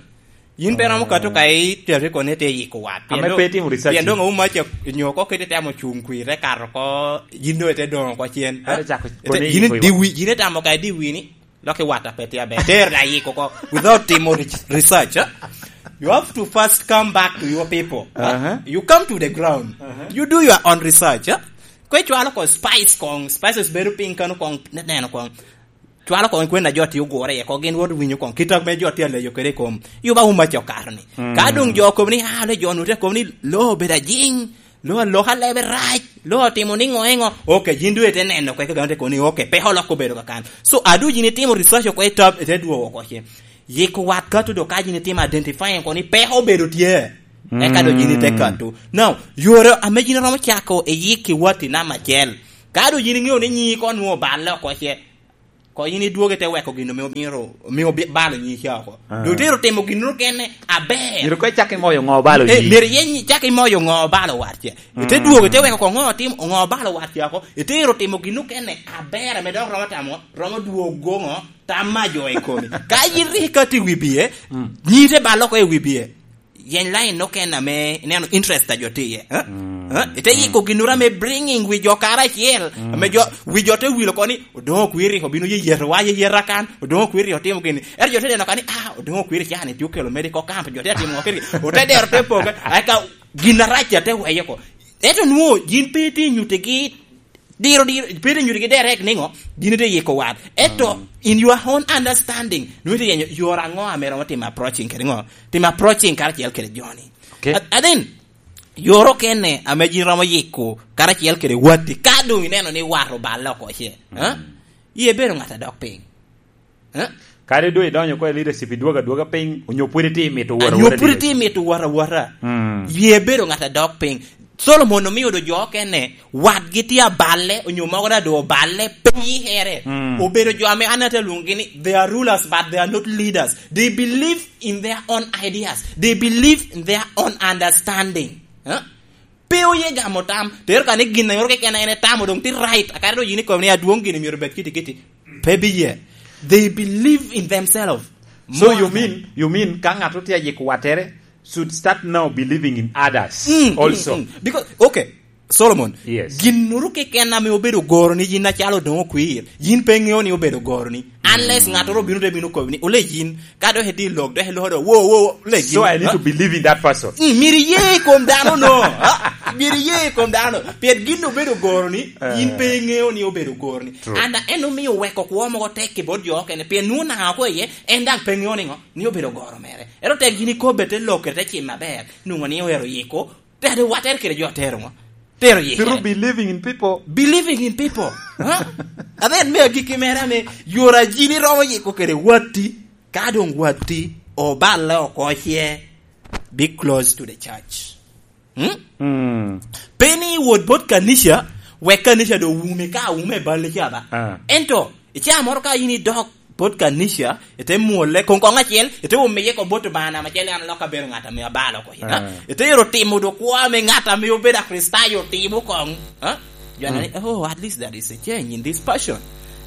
Yin pe romo kato ka i teri kono ite yiko wat. Pien ame doŋ, pe itimo research. Pien doŋ omaca nyo ko kete temo cuŋ kwir, te kato ko, yin doŋ ite doŋo ko cen. Ate cako ite, koni yin yiko diwi, yin itamo ka idiwi ni. Lok i wata pe tye aber. Ter da yiko ko without timo re-, research, eh? You have to first come back to your people, eh? Uh-huh. You come to the ground. Uh-huh. You do your own research, eh? Kwe cwalo ko spice kong, spices bedo piny kano kong, ne-, neno kong. Cwalo kong kwen a jo tye ogure iye, kong gin wot winyo kong. Kit ame jo tye aleyo kede i kom. Yuba umaca okato ni. Mm. Ka doŋ jo okobo ni, "Ah, le jo nu te kobo ni lo obedo ajing, lo aloka lebe rac, lo otimo ni ŋo eŋo." Ok, yin dwe ite neno kwe ka gano te kobo ni, ok, pe olok obedo kakan. So, adu yin itimo research oko i top, ite dwogo oko ce. Yiko wat ka tudo ka yin itimo identifying oko ni pe obedo tye. Eka do yin ite kato. Now, yore ame yin romo cako i yik i watti namba acel. Ka do yin iŋeo ni nyi ko nwo balle oko ce. Ko yin idwogo ite weko gin omio, omio, omio bi-, balo nyi ca oko. Ah. Dok itero timo gin mukene aber. Myero ko icak imoyo ŋo balo Eh, nyi. Myero yen nyi-, cak imoyo ŋo balo watce. Ite dwogo ite weko ko ŋo tim-, ŋo balo watce oko. Itero timo gin mukene aber ame dok romo tamo, romo dwogo ŋo, tam ma jo i komi. Ka yin rik ikati i wi bie, nyi ite balo oko i wi bie. Yeny lain okene ame ineno interest a jo tye iye, eh? Eh? Ite yiko ginnoro ame bringing wi jo karacel, ame jo, wi jo te wilo oko ni, "Odoŋo Okwiri obino yeyeto wa yeyeta kan, Odoŋo Okwiri otimo gini." Ento jo te neno ka ni, "Ah, Odoŋo Okwiri can itye okelo medical camp, jo te timo ŋo kede gin." Ote dero te poge, eka gin arac a te weye oko. Ento nwo, yin pe itye nyutigi, diro, diro, pe itye nyutigi direct ni ŋo, gin ite yiko wat. Ento, in your own understanding, nwo ite yenyo yore aŋo ame romo timo approaching kede ŋo? Timo approaching karacel kede joni. Okay. A-, and then, yore okene ame yin romo yiko karacel kede watti, ka doŋ ineno ni wat oballe oko ce, ha? Yie bedo ŋat a dok piny. Ha? Kadi doŋ idonyo oko i leadership, idwogo adwoga piny, onyo pwod itye mito wot Anyo awota pwod dye. Itye mito wot awota. Yie bedo ŋat a dok piny. Solomon omio do jo okene, watgi tye aballe, onyo mogo daŋ doŋ oballe, pe yikere. Obedo jo ame an ate lwongogi ni, they are rulers, but they are not leaders. They believe in their own ideas. They believe in their own understanding. Huh? Pe oye gamo tam. Tero ka ni gin a yoro keken en etamo doŋ tye right. Akare do yin ikobo ni adwoŋ gini myero bed kiti kiti. Pe biye. They believe in themselves. So more you than mean, you mean ka ŋat otye ayiko wattere should start now believing in others Mm, also. Mm, mm. Because, okay, Solomon, Yes. Ginnoro keken ame obedo goro ni yin acalo doŋ okwir, yin pe ŋeo ni obedo goro ni. Unless ŋattoro obino te bino kobi ni, "Ole yin, ka dok itye i lok, dok iloko do, wo, wo, wo, ole yin." So I need Ha? To believe in that person. Mm, myero iye i kom dano no. Ha? Myero iye i kom dano. Pien gin obedo goro ni, Eh. Yin pe iŋeo ni obedo goro ni. True. And en omio weko kwo mogo tek i bot jo okene. Pien nwoŋo naka ko iye, en daŋ pe ŋeo ni ŋo, ni obedo goro mere. Ero tek yin ikobbe te lok, te cim aber, nwoŋo ni oero yiko, Tero wattere kede jo tero ŋo? Tero yikere. Through believing in people. Believing in people. Huh? And then me agikki mere ame, yore a yin iromo yiko kede watti, ka doŋ watti oballe oko ce, be close to the church. Hmm? Mm. Pe ni iwot bot kanica, wek kanica doŋ wumi ka wumi i balle ca ba. Ah. Ento, i caa moro ka yin idok bot kanica, ite mwole, koŋ koŋ acel, ite omiye ko bot Obaŋa namba acel, an lok abedo ŋat ame abalo oko, you know? Ah. Ite ero timo do kwo ame ŋat ame obedo Akricitayo timo koŋ, huh? Jo ni, "Oh, at least there is a change in this person."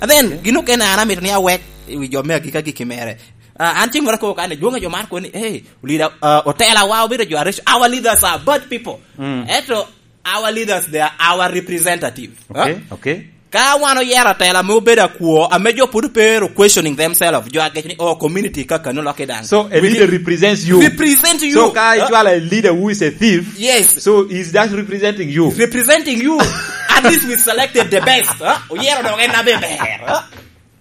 And then, gin okene an amito ni awek i wi jo me agika gikki mere. Ah, an ceng moro akobo kan, dwoŋ a jo mar kono ni, "Hey, leader, uh, otela wa obedo jo areco, our leaders are bad people." Mm. Eto, our leaders, they are our representative. Okay, huh? Okay. Ka wan oyero atela ame obedo akwo, ame jo pwod pe ero questioning themselves, jo agec ni, "Oh, community kakano lokke daŋ." So, a leader represents you. Represent you. So, ka huh? Icwalo a leader who is a thief, yes. So, is that representing you? Representing you. At least we selected the best, huh? Oyero dok en abe ber, huh?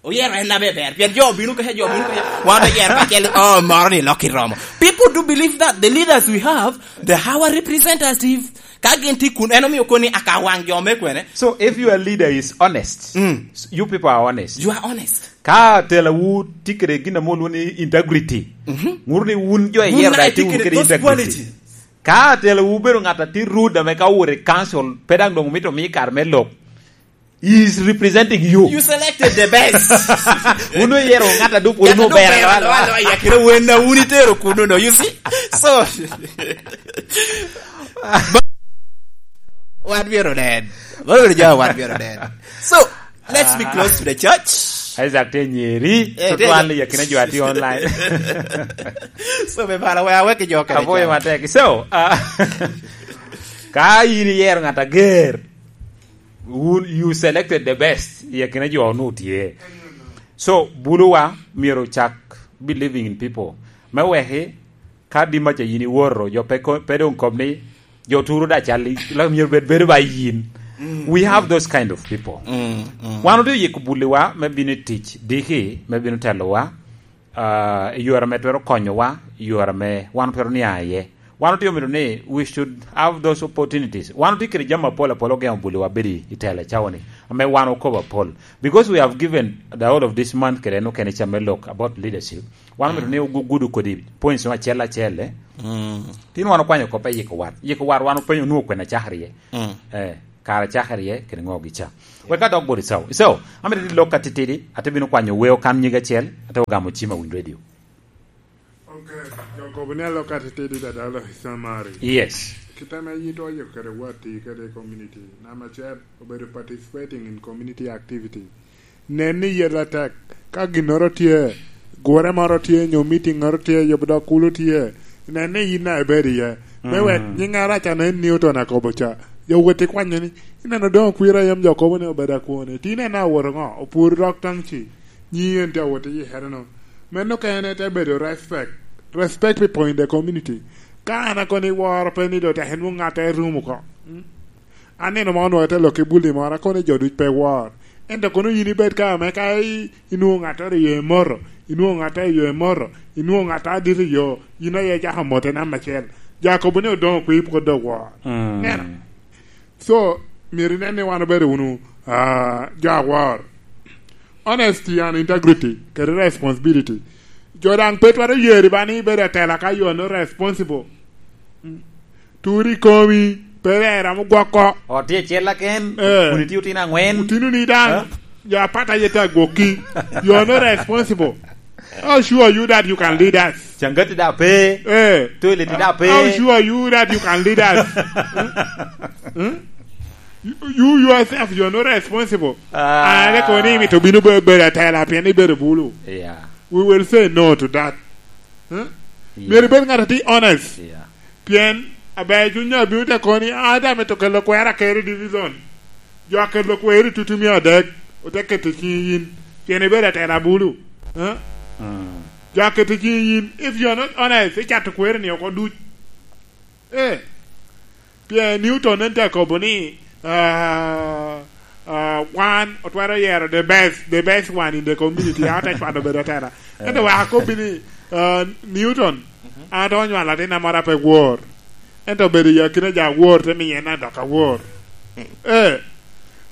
Oyero en abe ber. Pien jo obino kece, jo obino kece. Wan oyero kacel, oh, moro ni lok iromo. People do believe that the leaders we have, the our representative, ka gin tye kun, en omio koni aka waŋ jo me kwene. So if your leader is honest, mm, you people are honest. You are honest. Ka tela wu tye kede gin ame olwongo ni integrity, mhm, ŋuto ni wun jo iyero daŋ tye wunu kede integrity. Ka tela wu bedo ŋat a tye rude ame ka owuto i council, pe daŋ doŋ omito omi kare me lok. He is representing you. You selected the best. Wun oyero ŋat a dup wunu ber loya loya. Kere wen na wun itero kuno no, you see? So, wan myero nen. Wan myero ja, wan myero nen. So, let's be close to the church. Isaac te nyeri. Eh, tutwal i akina jo a tye online. So, me bala we awek i jo kede. Aboyo matek. So, uh, ka in iyero ŋat ager, Wun, you selected the best i akina jo onwoŋo tye. So, buluwa myero ocak believing in people. Me weki, ka dimaca yin iwoto, jo pe ko-, pe doŋ kob ni, jo turo da cal, i-, la myero bed bedo ba yin. We have those kind of people. Wan otye oyiko buliwa me bino i tic, diki, me bino telowa, ah, i yore ame twero konyowa, i yore ame wan twero nia iye. Wan otye omito ni we should have those opportunities. Wan otye kede jami apol apol ogeŋo buliwa bedo i telo i cawa-ni, ame wan okobo apol. Because we have given the whole of this month kede en okene ca me lok about leadership, wan omito ni ogu-, gudo kodi points no acel acel, eh. Tin wan okwanyo kop e yiko wat. Yiko wat wan openyo onwoŋo kwene acakere iye. Eh, kara acakere iye, kede ŋo gica. Wek adok bot Icau. Icau, amito ni lok atitidi, ate bino kwanyo weo kan nyig acel, ate ogamo cim a Winy Radio. Ok, jo kobo ni alok atitidi dadalo i Samari. Yes. Kit ame yito oyo kede watti kede community. Number acel, obedo participating in community activity. Nen ni yet atek. Ka ginnoro tye, gure moro tye, nyo meeting moro tye, yubo dok kulu tye, nen ni yin a ibedo iye. Me wek nyiŋ arac a nen Newton akobo ca, jo wot ikwanyo ni, ineno doŋ okwira yam jo kobo ni obedo akwone. Ti nen a owoto ŋo? Opworo dok taŋ ci. Nyi en tye awot i hereno. Meno kene te bedo respect. Respect people in the community. Ka an akono iworo pe ni do tek inwoŋ ŋatte i rum oko. Mm. Anino ma onwoŋo te lok i bulli moro, akono jo duc pe wor. Ento kono yin ibed ka ame ka i-, inwoŋo ŋatte i yo emoto, inwoŋo ŋatte i yo emoto, inwoŋo ŋatte adito i yo, yin aye icako mote namba acel. Jo akobo ni odoŋo kwi pwod dok wor. Mm. Neno. So, myero inen ni wan obedo wunu, ah, jo awor. Honesty and integrity, kede responsibility. Jo daŋ pe twero yeri ba ni ibedo atela ka you are not responsible. Mm. Turi komi, pe rera mo gwoko. Ot tye acel laken, eh, kun itye otino angwen. Otino ni daŋ, eh? Jo apata ye ta gwokki. You are not responsible. How sure are you that you can lead us? Cangati da pe. Eh. Toilet da pe. How sure are you that you can lead us? Hmm? Hmm? You, you yourself, you are not responsible. Ah. Ane koni imito bino be-, bedo atela pien ibedo bulu. Yeah. We will say no to that. Hmm? Yeah. Myero ibed ŋat a tye honest. Yeah. Pien aber cuny abino te koni, "An daŋ amito kelo kwero akero i division." Jo akelo kwero i tutumia adek, ote keto ciŋi yin. Pien ibedo atela bulu. Eh? Mm. Jo aketo ciŋi yin. If you are not honest, icato kwero ni oko duc. Eh. Pien Newton en te kobo ni, ah, ah, wan otwero yero the best, the best one in the community. An te cwalo bedo atela. Ento wek akobbi ni, ah, Newton, an atwero nywalo atin amoro pe wor. Ento obedo i akina jo awor, te miyo en adok awor. Eh.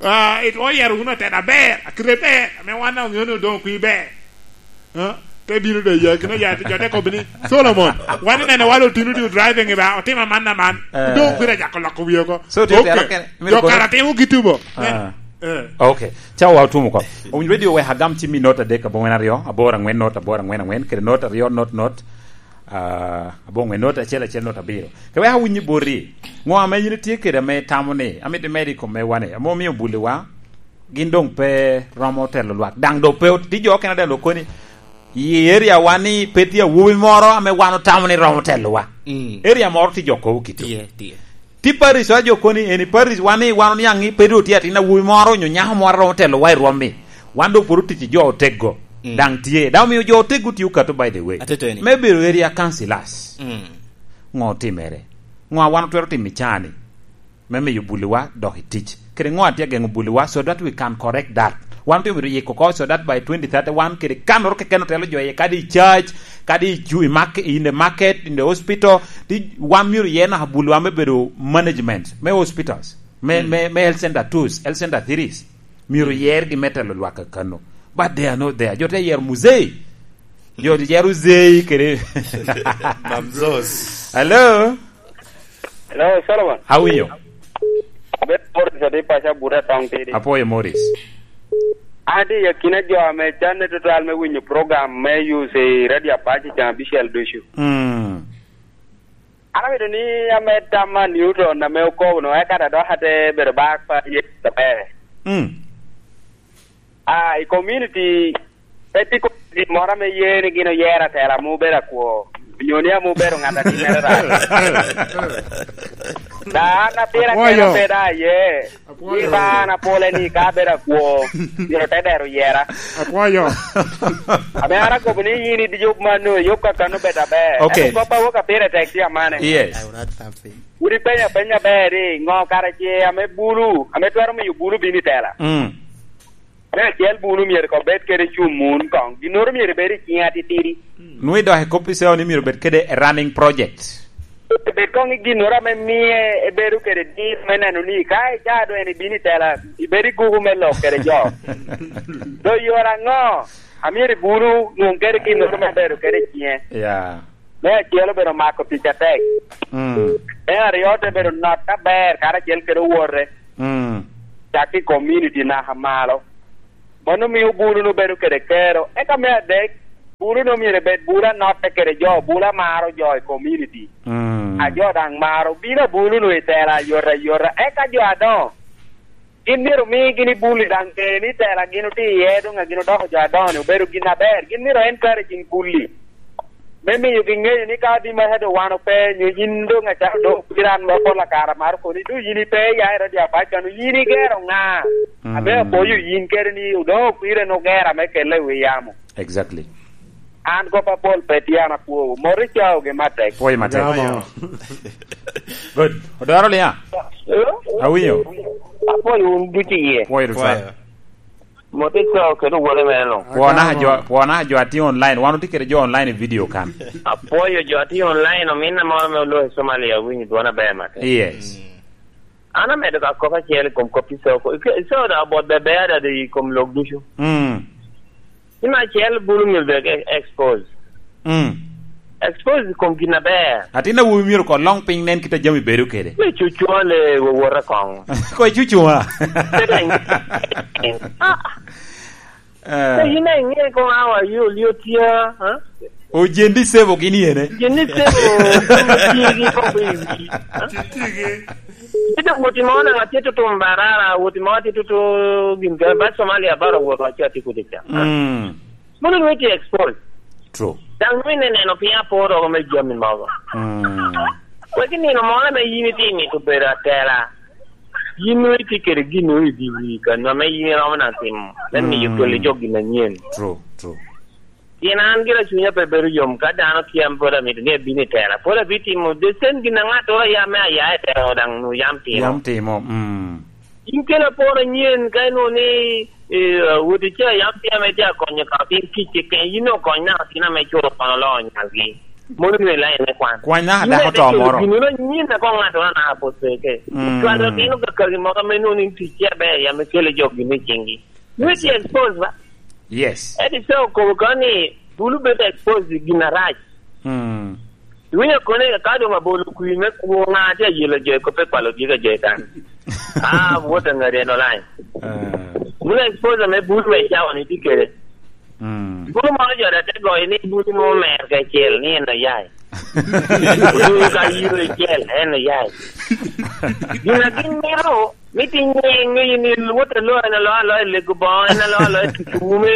Ah, itwero yero wunu atela aber, akite ber, ame wan daŋ oŋeo ni odoŋo kwi ber. Ah, te bino de i akina jo, jo te kobo ni, "Solomon, wan ineno walo otino tye driving i ba, otimo aman aman." Eh. Odoŋo kwira jako loko wie oko. So, tye otero kene, jo kara timo gitubo. Ah. Eh. Eh. Ok. Cawa otumo oko. Owinjo radio wek agam cim i not adek, abongwen aryo, abor angwen not, abor angwen angwen, kede not aryo not not. Ah, abongo i nota acel acel, nota abiro. Ka wek awinyi boti, ŋo ame yin itye kede ame itamo ni amito imedo i kom me wane, ame omio buliwa gin doŋ pe romo telo lwak, daŋ doŋ pe ot-, tye jo okene daŋ lok koni, i area wa ni pe tye awobi moro ame wan otamo ni romo telowa. Mm. Area moro tye jo kobo kito. Tye, tye. Tye parish wa jo koni, eni parish wa ni wan oniaŋ ni pe doŋ tye atin awobi moro onyo nyako moro a romo telowa i rwom-mi. Wan doŋ pwod otic i jo oteggo. Mm. Daŋ tye. Daŋ omio jo oteggo tye okato, by the way. Atete ni. Me bedo area councillors. Mm. Ŋo otimere? Ŋo a wan otwero timo i caa-ni? Me miyo buliwa dok i tic. Kede ŋo a tye ageŋo buliwa so that we can correct that? Wan otye myero yiko oko so that by twenty thirty wan kede kannoro keken otelo jo iye, kadi i church, kadi i ju-, i mark-, in the market, in the hospital, ti wan myero ye naka buliwa me bedo management, me hospitals, me, mm, me, me health center twos, health center threes. Myero yergi me telo lwak kakano. But they are not there. Jo te yero muzei. Jo te yero uzei kede. Mamzos. Hello? Hello, Solomon. How are you? Abed Morris, adi paca Buta Town Tidi. Apwoyo, Morris. Adi, yakina jo ame canne tutwal me winyo program me use i Radio Apache can abicel ducu. Mm. An amito ni amed tam a Newton ame okobo no, eka ta dok ate bedo bak pa ye aber. Mm. Ah, i community, pe tye community moro ame ye ni gin oyero atela ame obedo akwo. Onyo ni ame obedo ŋat a timmere rac. Da an apira kena Apwoyo. Beda aye. Apwoyo. Ni ba an apole ni ka abedo akwo, myero te dero yera. Apwoyo. Ame an akobo ni yin idi yub mano, yub kakano bedo aber. Ok. Ento kop a wok apire tek tye amane. Yes. I will not have faith. Wun ipenyo apenya ber ni, ŋo kara ce ame bulu, ame twero miyo bulu bino i tela? Mm. Me acel, bulu myero kong bed kede cum mun koŋ. Ginnoro myero bed i ciŋe atitidi. Nwoŋo idok i kop i ceo ni myero bed kede a running project. Bed koŋ i ginnoro ame mie ebedo kede dir me neno ni ka icaa doŋ en ibino i tela, ibedo i guku me lok kede jo. Doŋ yore aŋo a myero bulu nwoŋ kede ginnoro me bedo kede i ciŋe? Ya. Me acel obedo mako tic atek. Mm. Me aryo te bedo not aber karacel kede owote. Mm. Cak i community naka malo. Mano mio bulu-nu bedo kede kero. Eka me adek, bulu-nu myero bed bulu anotte kede jo, bulu amaro jo i community. Mm. A jo daŋ maro, bino abulu-nu i tela ayot ayota. Eka jo adoŋo, gin myero omi gin i bulu daŋ ŋe ni tela gin otye iye, doŋ a gin odoko jo adoŋo-ni obedo gin aber. Gin myero encouraging bulu-li. Me miyogi ŋeyo ni ka di maka doŋ wan ope, nyo yin doŋ acalo doŋ pira an ma pol akara maro koni, doŋ yin ipe ya i radio apac kano, yin igero ŋa? Mm. Ame apoyo yin kede ni doŋ okwire en ogero ame kelle i wi yamo. Exactly. An kop apol pe tye an apwowu. Mot i caogi matek. Pwoyo matek. Yamo. Good. Odoro Liya. Eh? Awinyo. Apwoyo wun ducu iye. Pwoyo ducu. Pwoyo. Mot i cawa kede owote mere luŋ. Pwona jo, pwona jo atye online. Wan otye kede jo online i video kan. Apwoyo jo atye online, ominna moro me oloo i Somalia, awinyo dwona ber matek. Yes. Mm. An amedo ka kop acel i kom kop i cawa. I cawa da obot bebe adada i kom lok ducu. Mm. Ni me acel bulu myero bed e-, expose. Mm. Expose i kom gin aber. Atin awobi myero ko long piny nen kit a jami bedo kede. Me cucwale wowota koŋ. Ko icucwa. Kede. Ah. Eh. Ko yin a iŋe koŋ awa yo liyo tya, ha? O jendi sebo gini ene? Jendi sebo, tigi koŋ i wi, ha? Titigi. Ite woti mo na ŋat tye tutum barara, woti mo tye tutu gin ka, ba Somalia bara wot wa ca tye kudi ca. Mm. Mono nwe tye expose. True. Daŋ nwe ne neno piny aporo me jami mogo. Mm. Wek i nino moro ame yin itye mito bedo atela. Yin nwe itye kede gin nwe i di wi ka nwa me yin iromo na timo. Me miyo kelo jo gin anyen. True, true. Pien an gira cunya pe bedo yom ka dano tye an pwod amito ni abino i tela. Pwod abitimo the same gin a ŋattoro a yam me aya i tela daŋ nu yam timo. Yam timo, mm. In kelo apor anyen ka inwo ni, eh, woti ca yam tye ame tye akonyo ka piny tic keken, yin okony naka tin ame culo kono loo nyalgi. Mono nwe lain me kwan. Kwany naka dako to moro. Gin ino nyin ako ŋattoro naka pwod peke. Mm. Cwalo tino kakagi moko ame nwo ni tic tye aber yam ikele jo gin i cingi. Nwe tye expose ba? Yes. Edi so okobo ka ni bulu bedo expose i gin arac. Hmm. Iwinyo kone ka doŋ abolo kwir me kwo ŋa tye ayelo jo i kop pe kwalo dyegi a jo i kan. Ah, wot aŋari en olany. Ah. Bulu expose me bulu me cawa ni tye kede. Hmm. Bulu moro jo da te goyo ni bulu mo mer kacel ni en oyai. Bulu ka yiro icel en oyai. Gin a gin mito Miti nyiŋ i ni wot alo en alo alo i lego boŋo, en alo alo i tutume.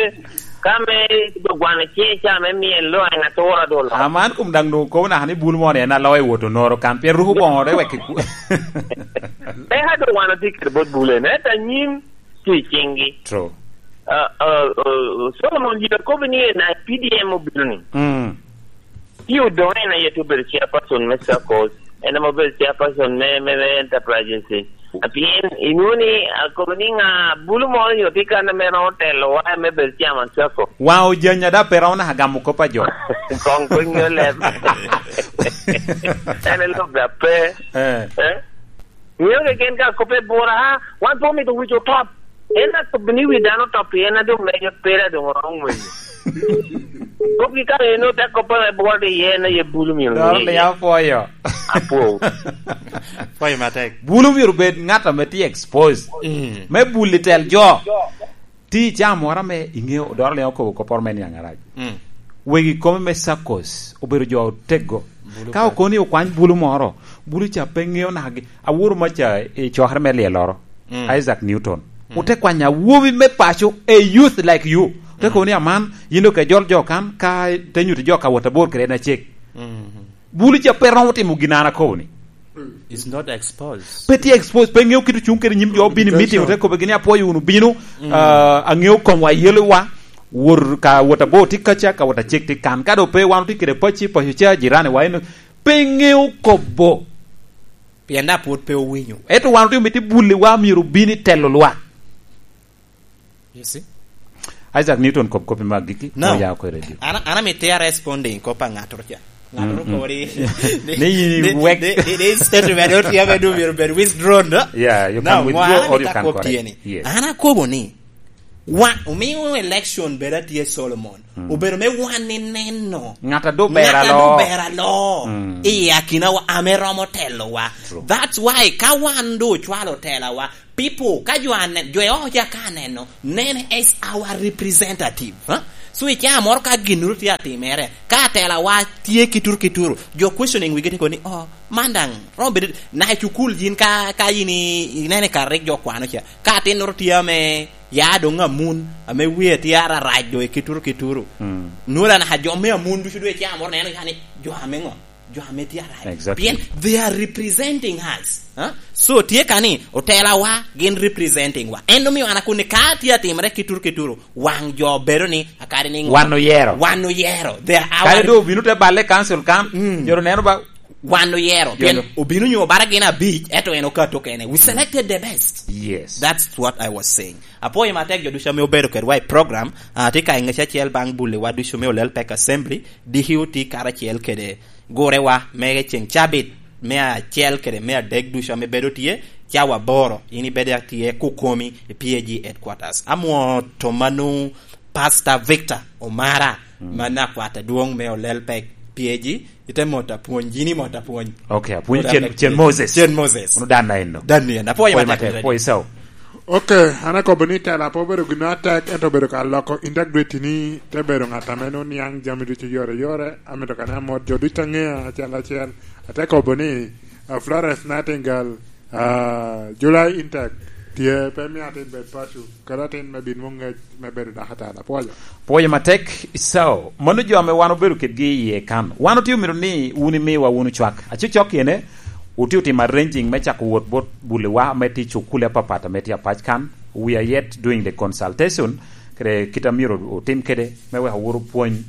Ka me dogwano ciŋ ca me mien lo en atura dolo. Aman kum daŋ doŋ kobo naka ni bul moni en alo i wot onoro kan, pien ruko boŋo re wek i ku-, Eka dogwano tye kede bot bul en, ento anyim tye i ciŋgi. True. Ah, ah, ah, Solomon Jacob ni en a P D M obino ni. Mm. Ti odoŋe en aye te obedo chairperson me circles, en ame obedo chairperson me, me, me enterprises. Pien inwoŋo ni, akobo ni ŋa bulu moro nyo tye kan ame romo telo wa me bedo chairman circle? Waŋ ojanya da pe romo naka gamo kop a jo. Koŋ pe ŋeo leb. En elok da pe. Eh. Eh? Ŋeo keken ka kop e bura, ha, wan pe omito wic otop. En akobo ni wi dano otop pien a doŋ mejo pera doŋ oromo ngwenyo. Kop ki kare eno te kop ame bwol iye en aye bulu myero Doro ŋe iye. Apwoyo. Apwoyo. Apwoyo matek. Bulu myero bed ŋat ame tye exposed. Mm. Me bul i tel jo. Ti i caa moro ame iŋeo doro liŋ okobo kopporo me niaŋ arac. Mm. Wegi kome me circles obedo jo oteggo. Bulu ka okoni okwany bulu moro, bulu ca pe ŋeo naka gi. Aworo maca i cokere me lyeloro, mm, Isaac Newton. Mm. Ote kwanyo awobi me paco, a youth like you. Ote, mm, kobo ni, "Aman, yin doŋ ke jol jo kan, ka te nyuto jo ka wot abor kede en acek." Mhm. Bulu ca pe romo timo gin an akobo ni. It's not exposed. Pe tye exposed, pe ŋeo kit ocung kede nyim jo, bino i meeting, ote kobo gini, "Apwoyo wunu, bino, ah, aŋeo komwa, yelo wa, wot ka wot abor tye kaca, ka wot acek tye kan." Ka do pe wan otye kede pacci, paco ca, jirani wa eno, pe ŋeo kobo. Pien da pwod pe owinyo. Ento wan otye omito buli wa, myero obin i telo lwa. You see? Isaac Newton, kop kopi mag giki, no, oya ko i radio. An, an amito ya responding kop a ŋato ca. Ŋato, mm, mm, kobo ni, ni, ni, yin ni, wek, ni, ni, ni statement ot ya bedo, bedo, bedo withdrawn, no? Yeah, you can withdraw or you can correct. Yes. An akobo ni, wa, omiyo election bedo atye Solomon. Mm. Obedo me wan ni neno. Ŋat a do ber alo. Ŋat a do ber alo. Mm. I akinawa ame romo telowa. True. That's why ka wan do ocwalo telawa, people, ka jo ane-, jo e oko ca ka aneno, nene as our representative, huh? So, i caa moro ka ginnoro tye atimere, ka atelawa tye kituru kituru, jo questioning wigi tye kono ni, "Oh, man daŋ romo bedo, na i cukul yin ka, ka yin i-, ineno i kare rik jo kwano ca, ka atinnoro tye ame ya doŋ amun, ame wie tye ararac doŋ i kituru kituru." Mm. Nwora naka jo me amun ducu doŋ i caa moro neno ya ni jo ame ŋo? Jo ame tye arac. Exactly. Pien they are representing us. Huh? So, tye ka ni, otelawa gin representing wa. En omio an akoni ka tye atimere kituru kituru, waŋ jo bedo ni, akadi ni ŋo? Wan oyero. Wan oyero. They are our. Kadi do obino te balle council kan, mm, joro neno ba. Wan oyero. Pien joro obino nyo bara gin abic, eto en okato kene. We selected the best. Yes. That's what I was saying. Apwoyo matek jo ducu ame obedo kedwa i program, ah, tye ka i ŋec acel baŋ buli wa ducu me Olel Pek Assembly, D Q tye karacel kede gurewa me ceŋ cabit me acel kede me adek ducu ame bedo tye, cawa aboro, in ibedo atye kukomi i P A G headquarters. Amwo tomanu Pastor Victor Omara, mm, man akwat adwoŋ me Olel Pek P A G, ite mot apwony, yin imot apwony. Ok, apwony. Mot Cen, apwony. Cen Moses. Cen Moses. Ono dan na eno. Dan ni en. Apwoyo matek, matek, apwoyo sao. Ok, an akobo ni tela pe obedo gin atek, ento obedo ka loko integrity ni te bedo ŋat ame nwoŋo niaŋ jami ducu yore yore, amito ka ni amot jo ducu aŋea acel acel. Ate kobo ni, ah, Florence Nightingale, ah, July intake tye, pe mio atin bed paco, kadi atin me bin nwoŋ ŋec me bedo dakatari. Apwoyo. Pwoyo matek, Isao. Mano jo ame wan obedo kedgi iye kan. Wan otye omito ni wun imiwa wunu cwak. Acocok ene, otye otimo arranging me cako wot bot buliwa ame tye i cukule apapat ame tye apac kan. We are yet doing the consultation, kede kit a myero otim kede, me wek owot opwony,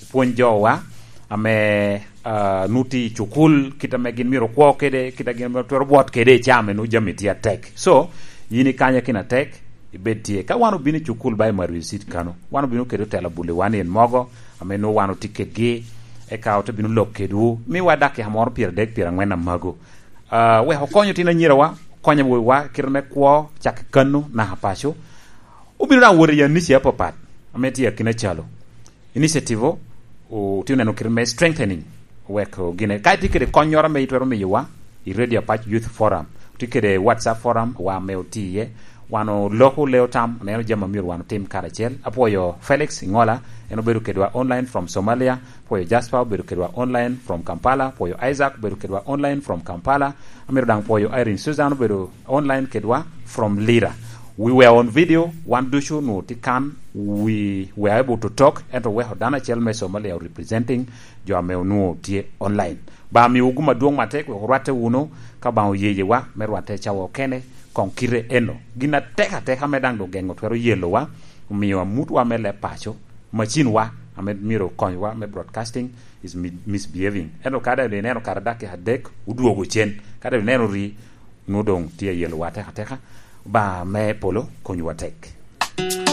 opwony jowa ame, ah, nwoŋo tye i cukul, kit ame gin myero okwo kede, kit a gin myero twero bwot kede i caa ame nwoŋo jami tye atek. So, yin ikanya kina tek, ibed tye. Ka wan obino i cukul ba i Mario City kano, wan obino kede otelo buliwa ni en mogo, ame nwoŋo wan otye kedgi, eka ote bino lok kedwu, miwa dakika moro pyeradek, pyerangwen amago. Ah, wek okony otino anyirawa, okony awobiwa, kite me kwo, cak i kano, naka paco. Obino daŋ wot i anici apapat, ame tye akina calo. Initiative o, otye oneno kite me strengthening, wek gine. Ka itye kede konnyoro ame itwero miyowa, i Radio Apac Youth Forum, otye kede WhatsApp forum, wa ame otye iye, wan oloko leo tam, oneno jami a myero wan otim karacel. Apwoyo Felix Ingola, en obedo kedwa online from Somalia. Apwoyo Jasper, obedo kedwa online from Kampala. Apwoyo Isaac, obedo kedwa online from Kampala. Amito daŋ pwoyo Irene Susan, obedo online kedwa from Lira. We were on video, wan ducu onwoŋo tye kan, we were able to talk, ento weko dano acel me Somalia o representing jo ame onwoŋo tye online. Ba miwu gum adwoŋ matek, wek orwatte wunu, ka Obaŋa oyeyewa me rwatte cawa okene, koŋ kite eno. Gin atek ateka me daŋ doŋ geŋo twero yelowa, omiyo amutwa me leb paco, macinwa ame myero okonywa me broadcasting is mi-, misbehaving. Ento ka daŋ ineno kare dakika adek, odwogo cen. Ka daŋ ineno ri, nwoŋo doŋ tye ayelowa atek ateka. Obaŋa me polo konywa tek.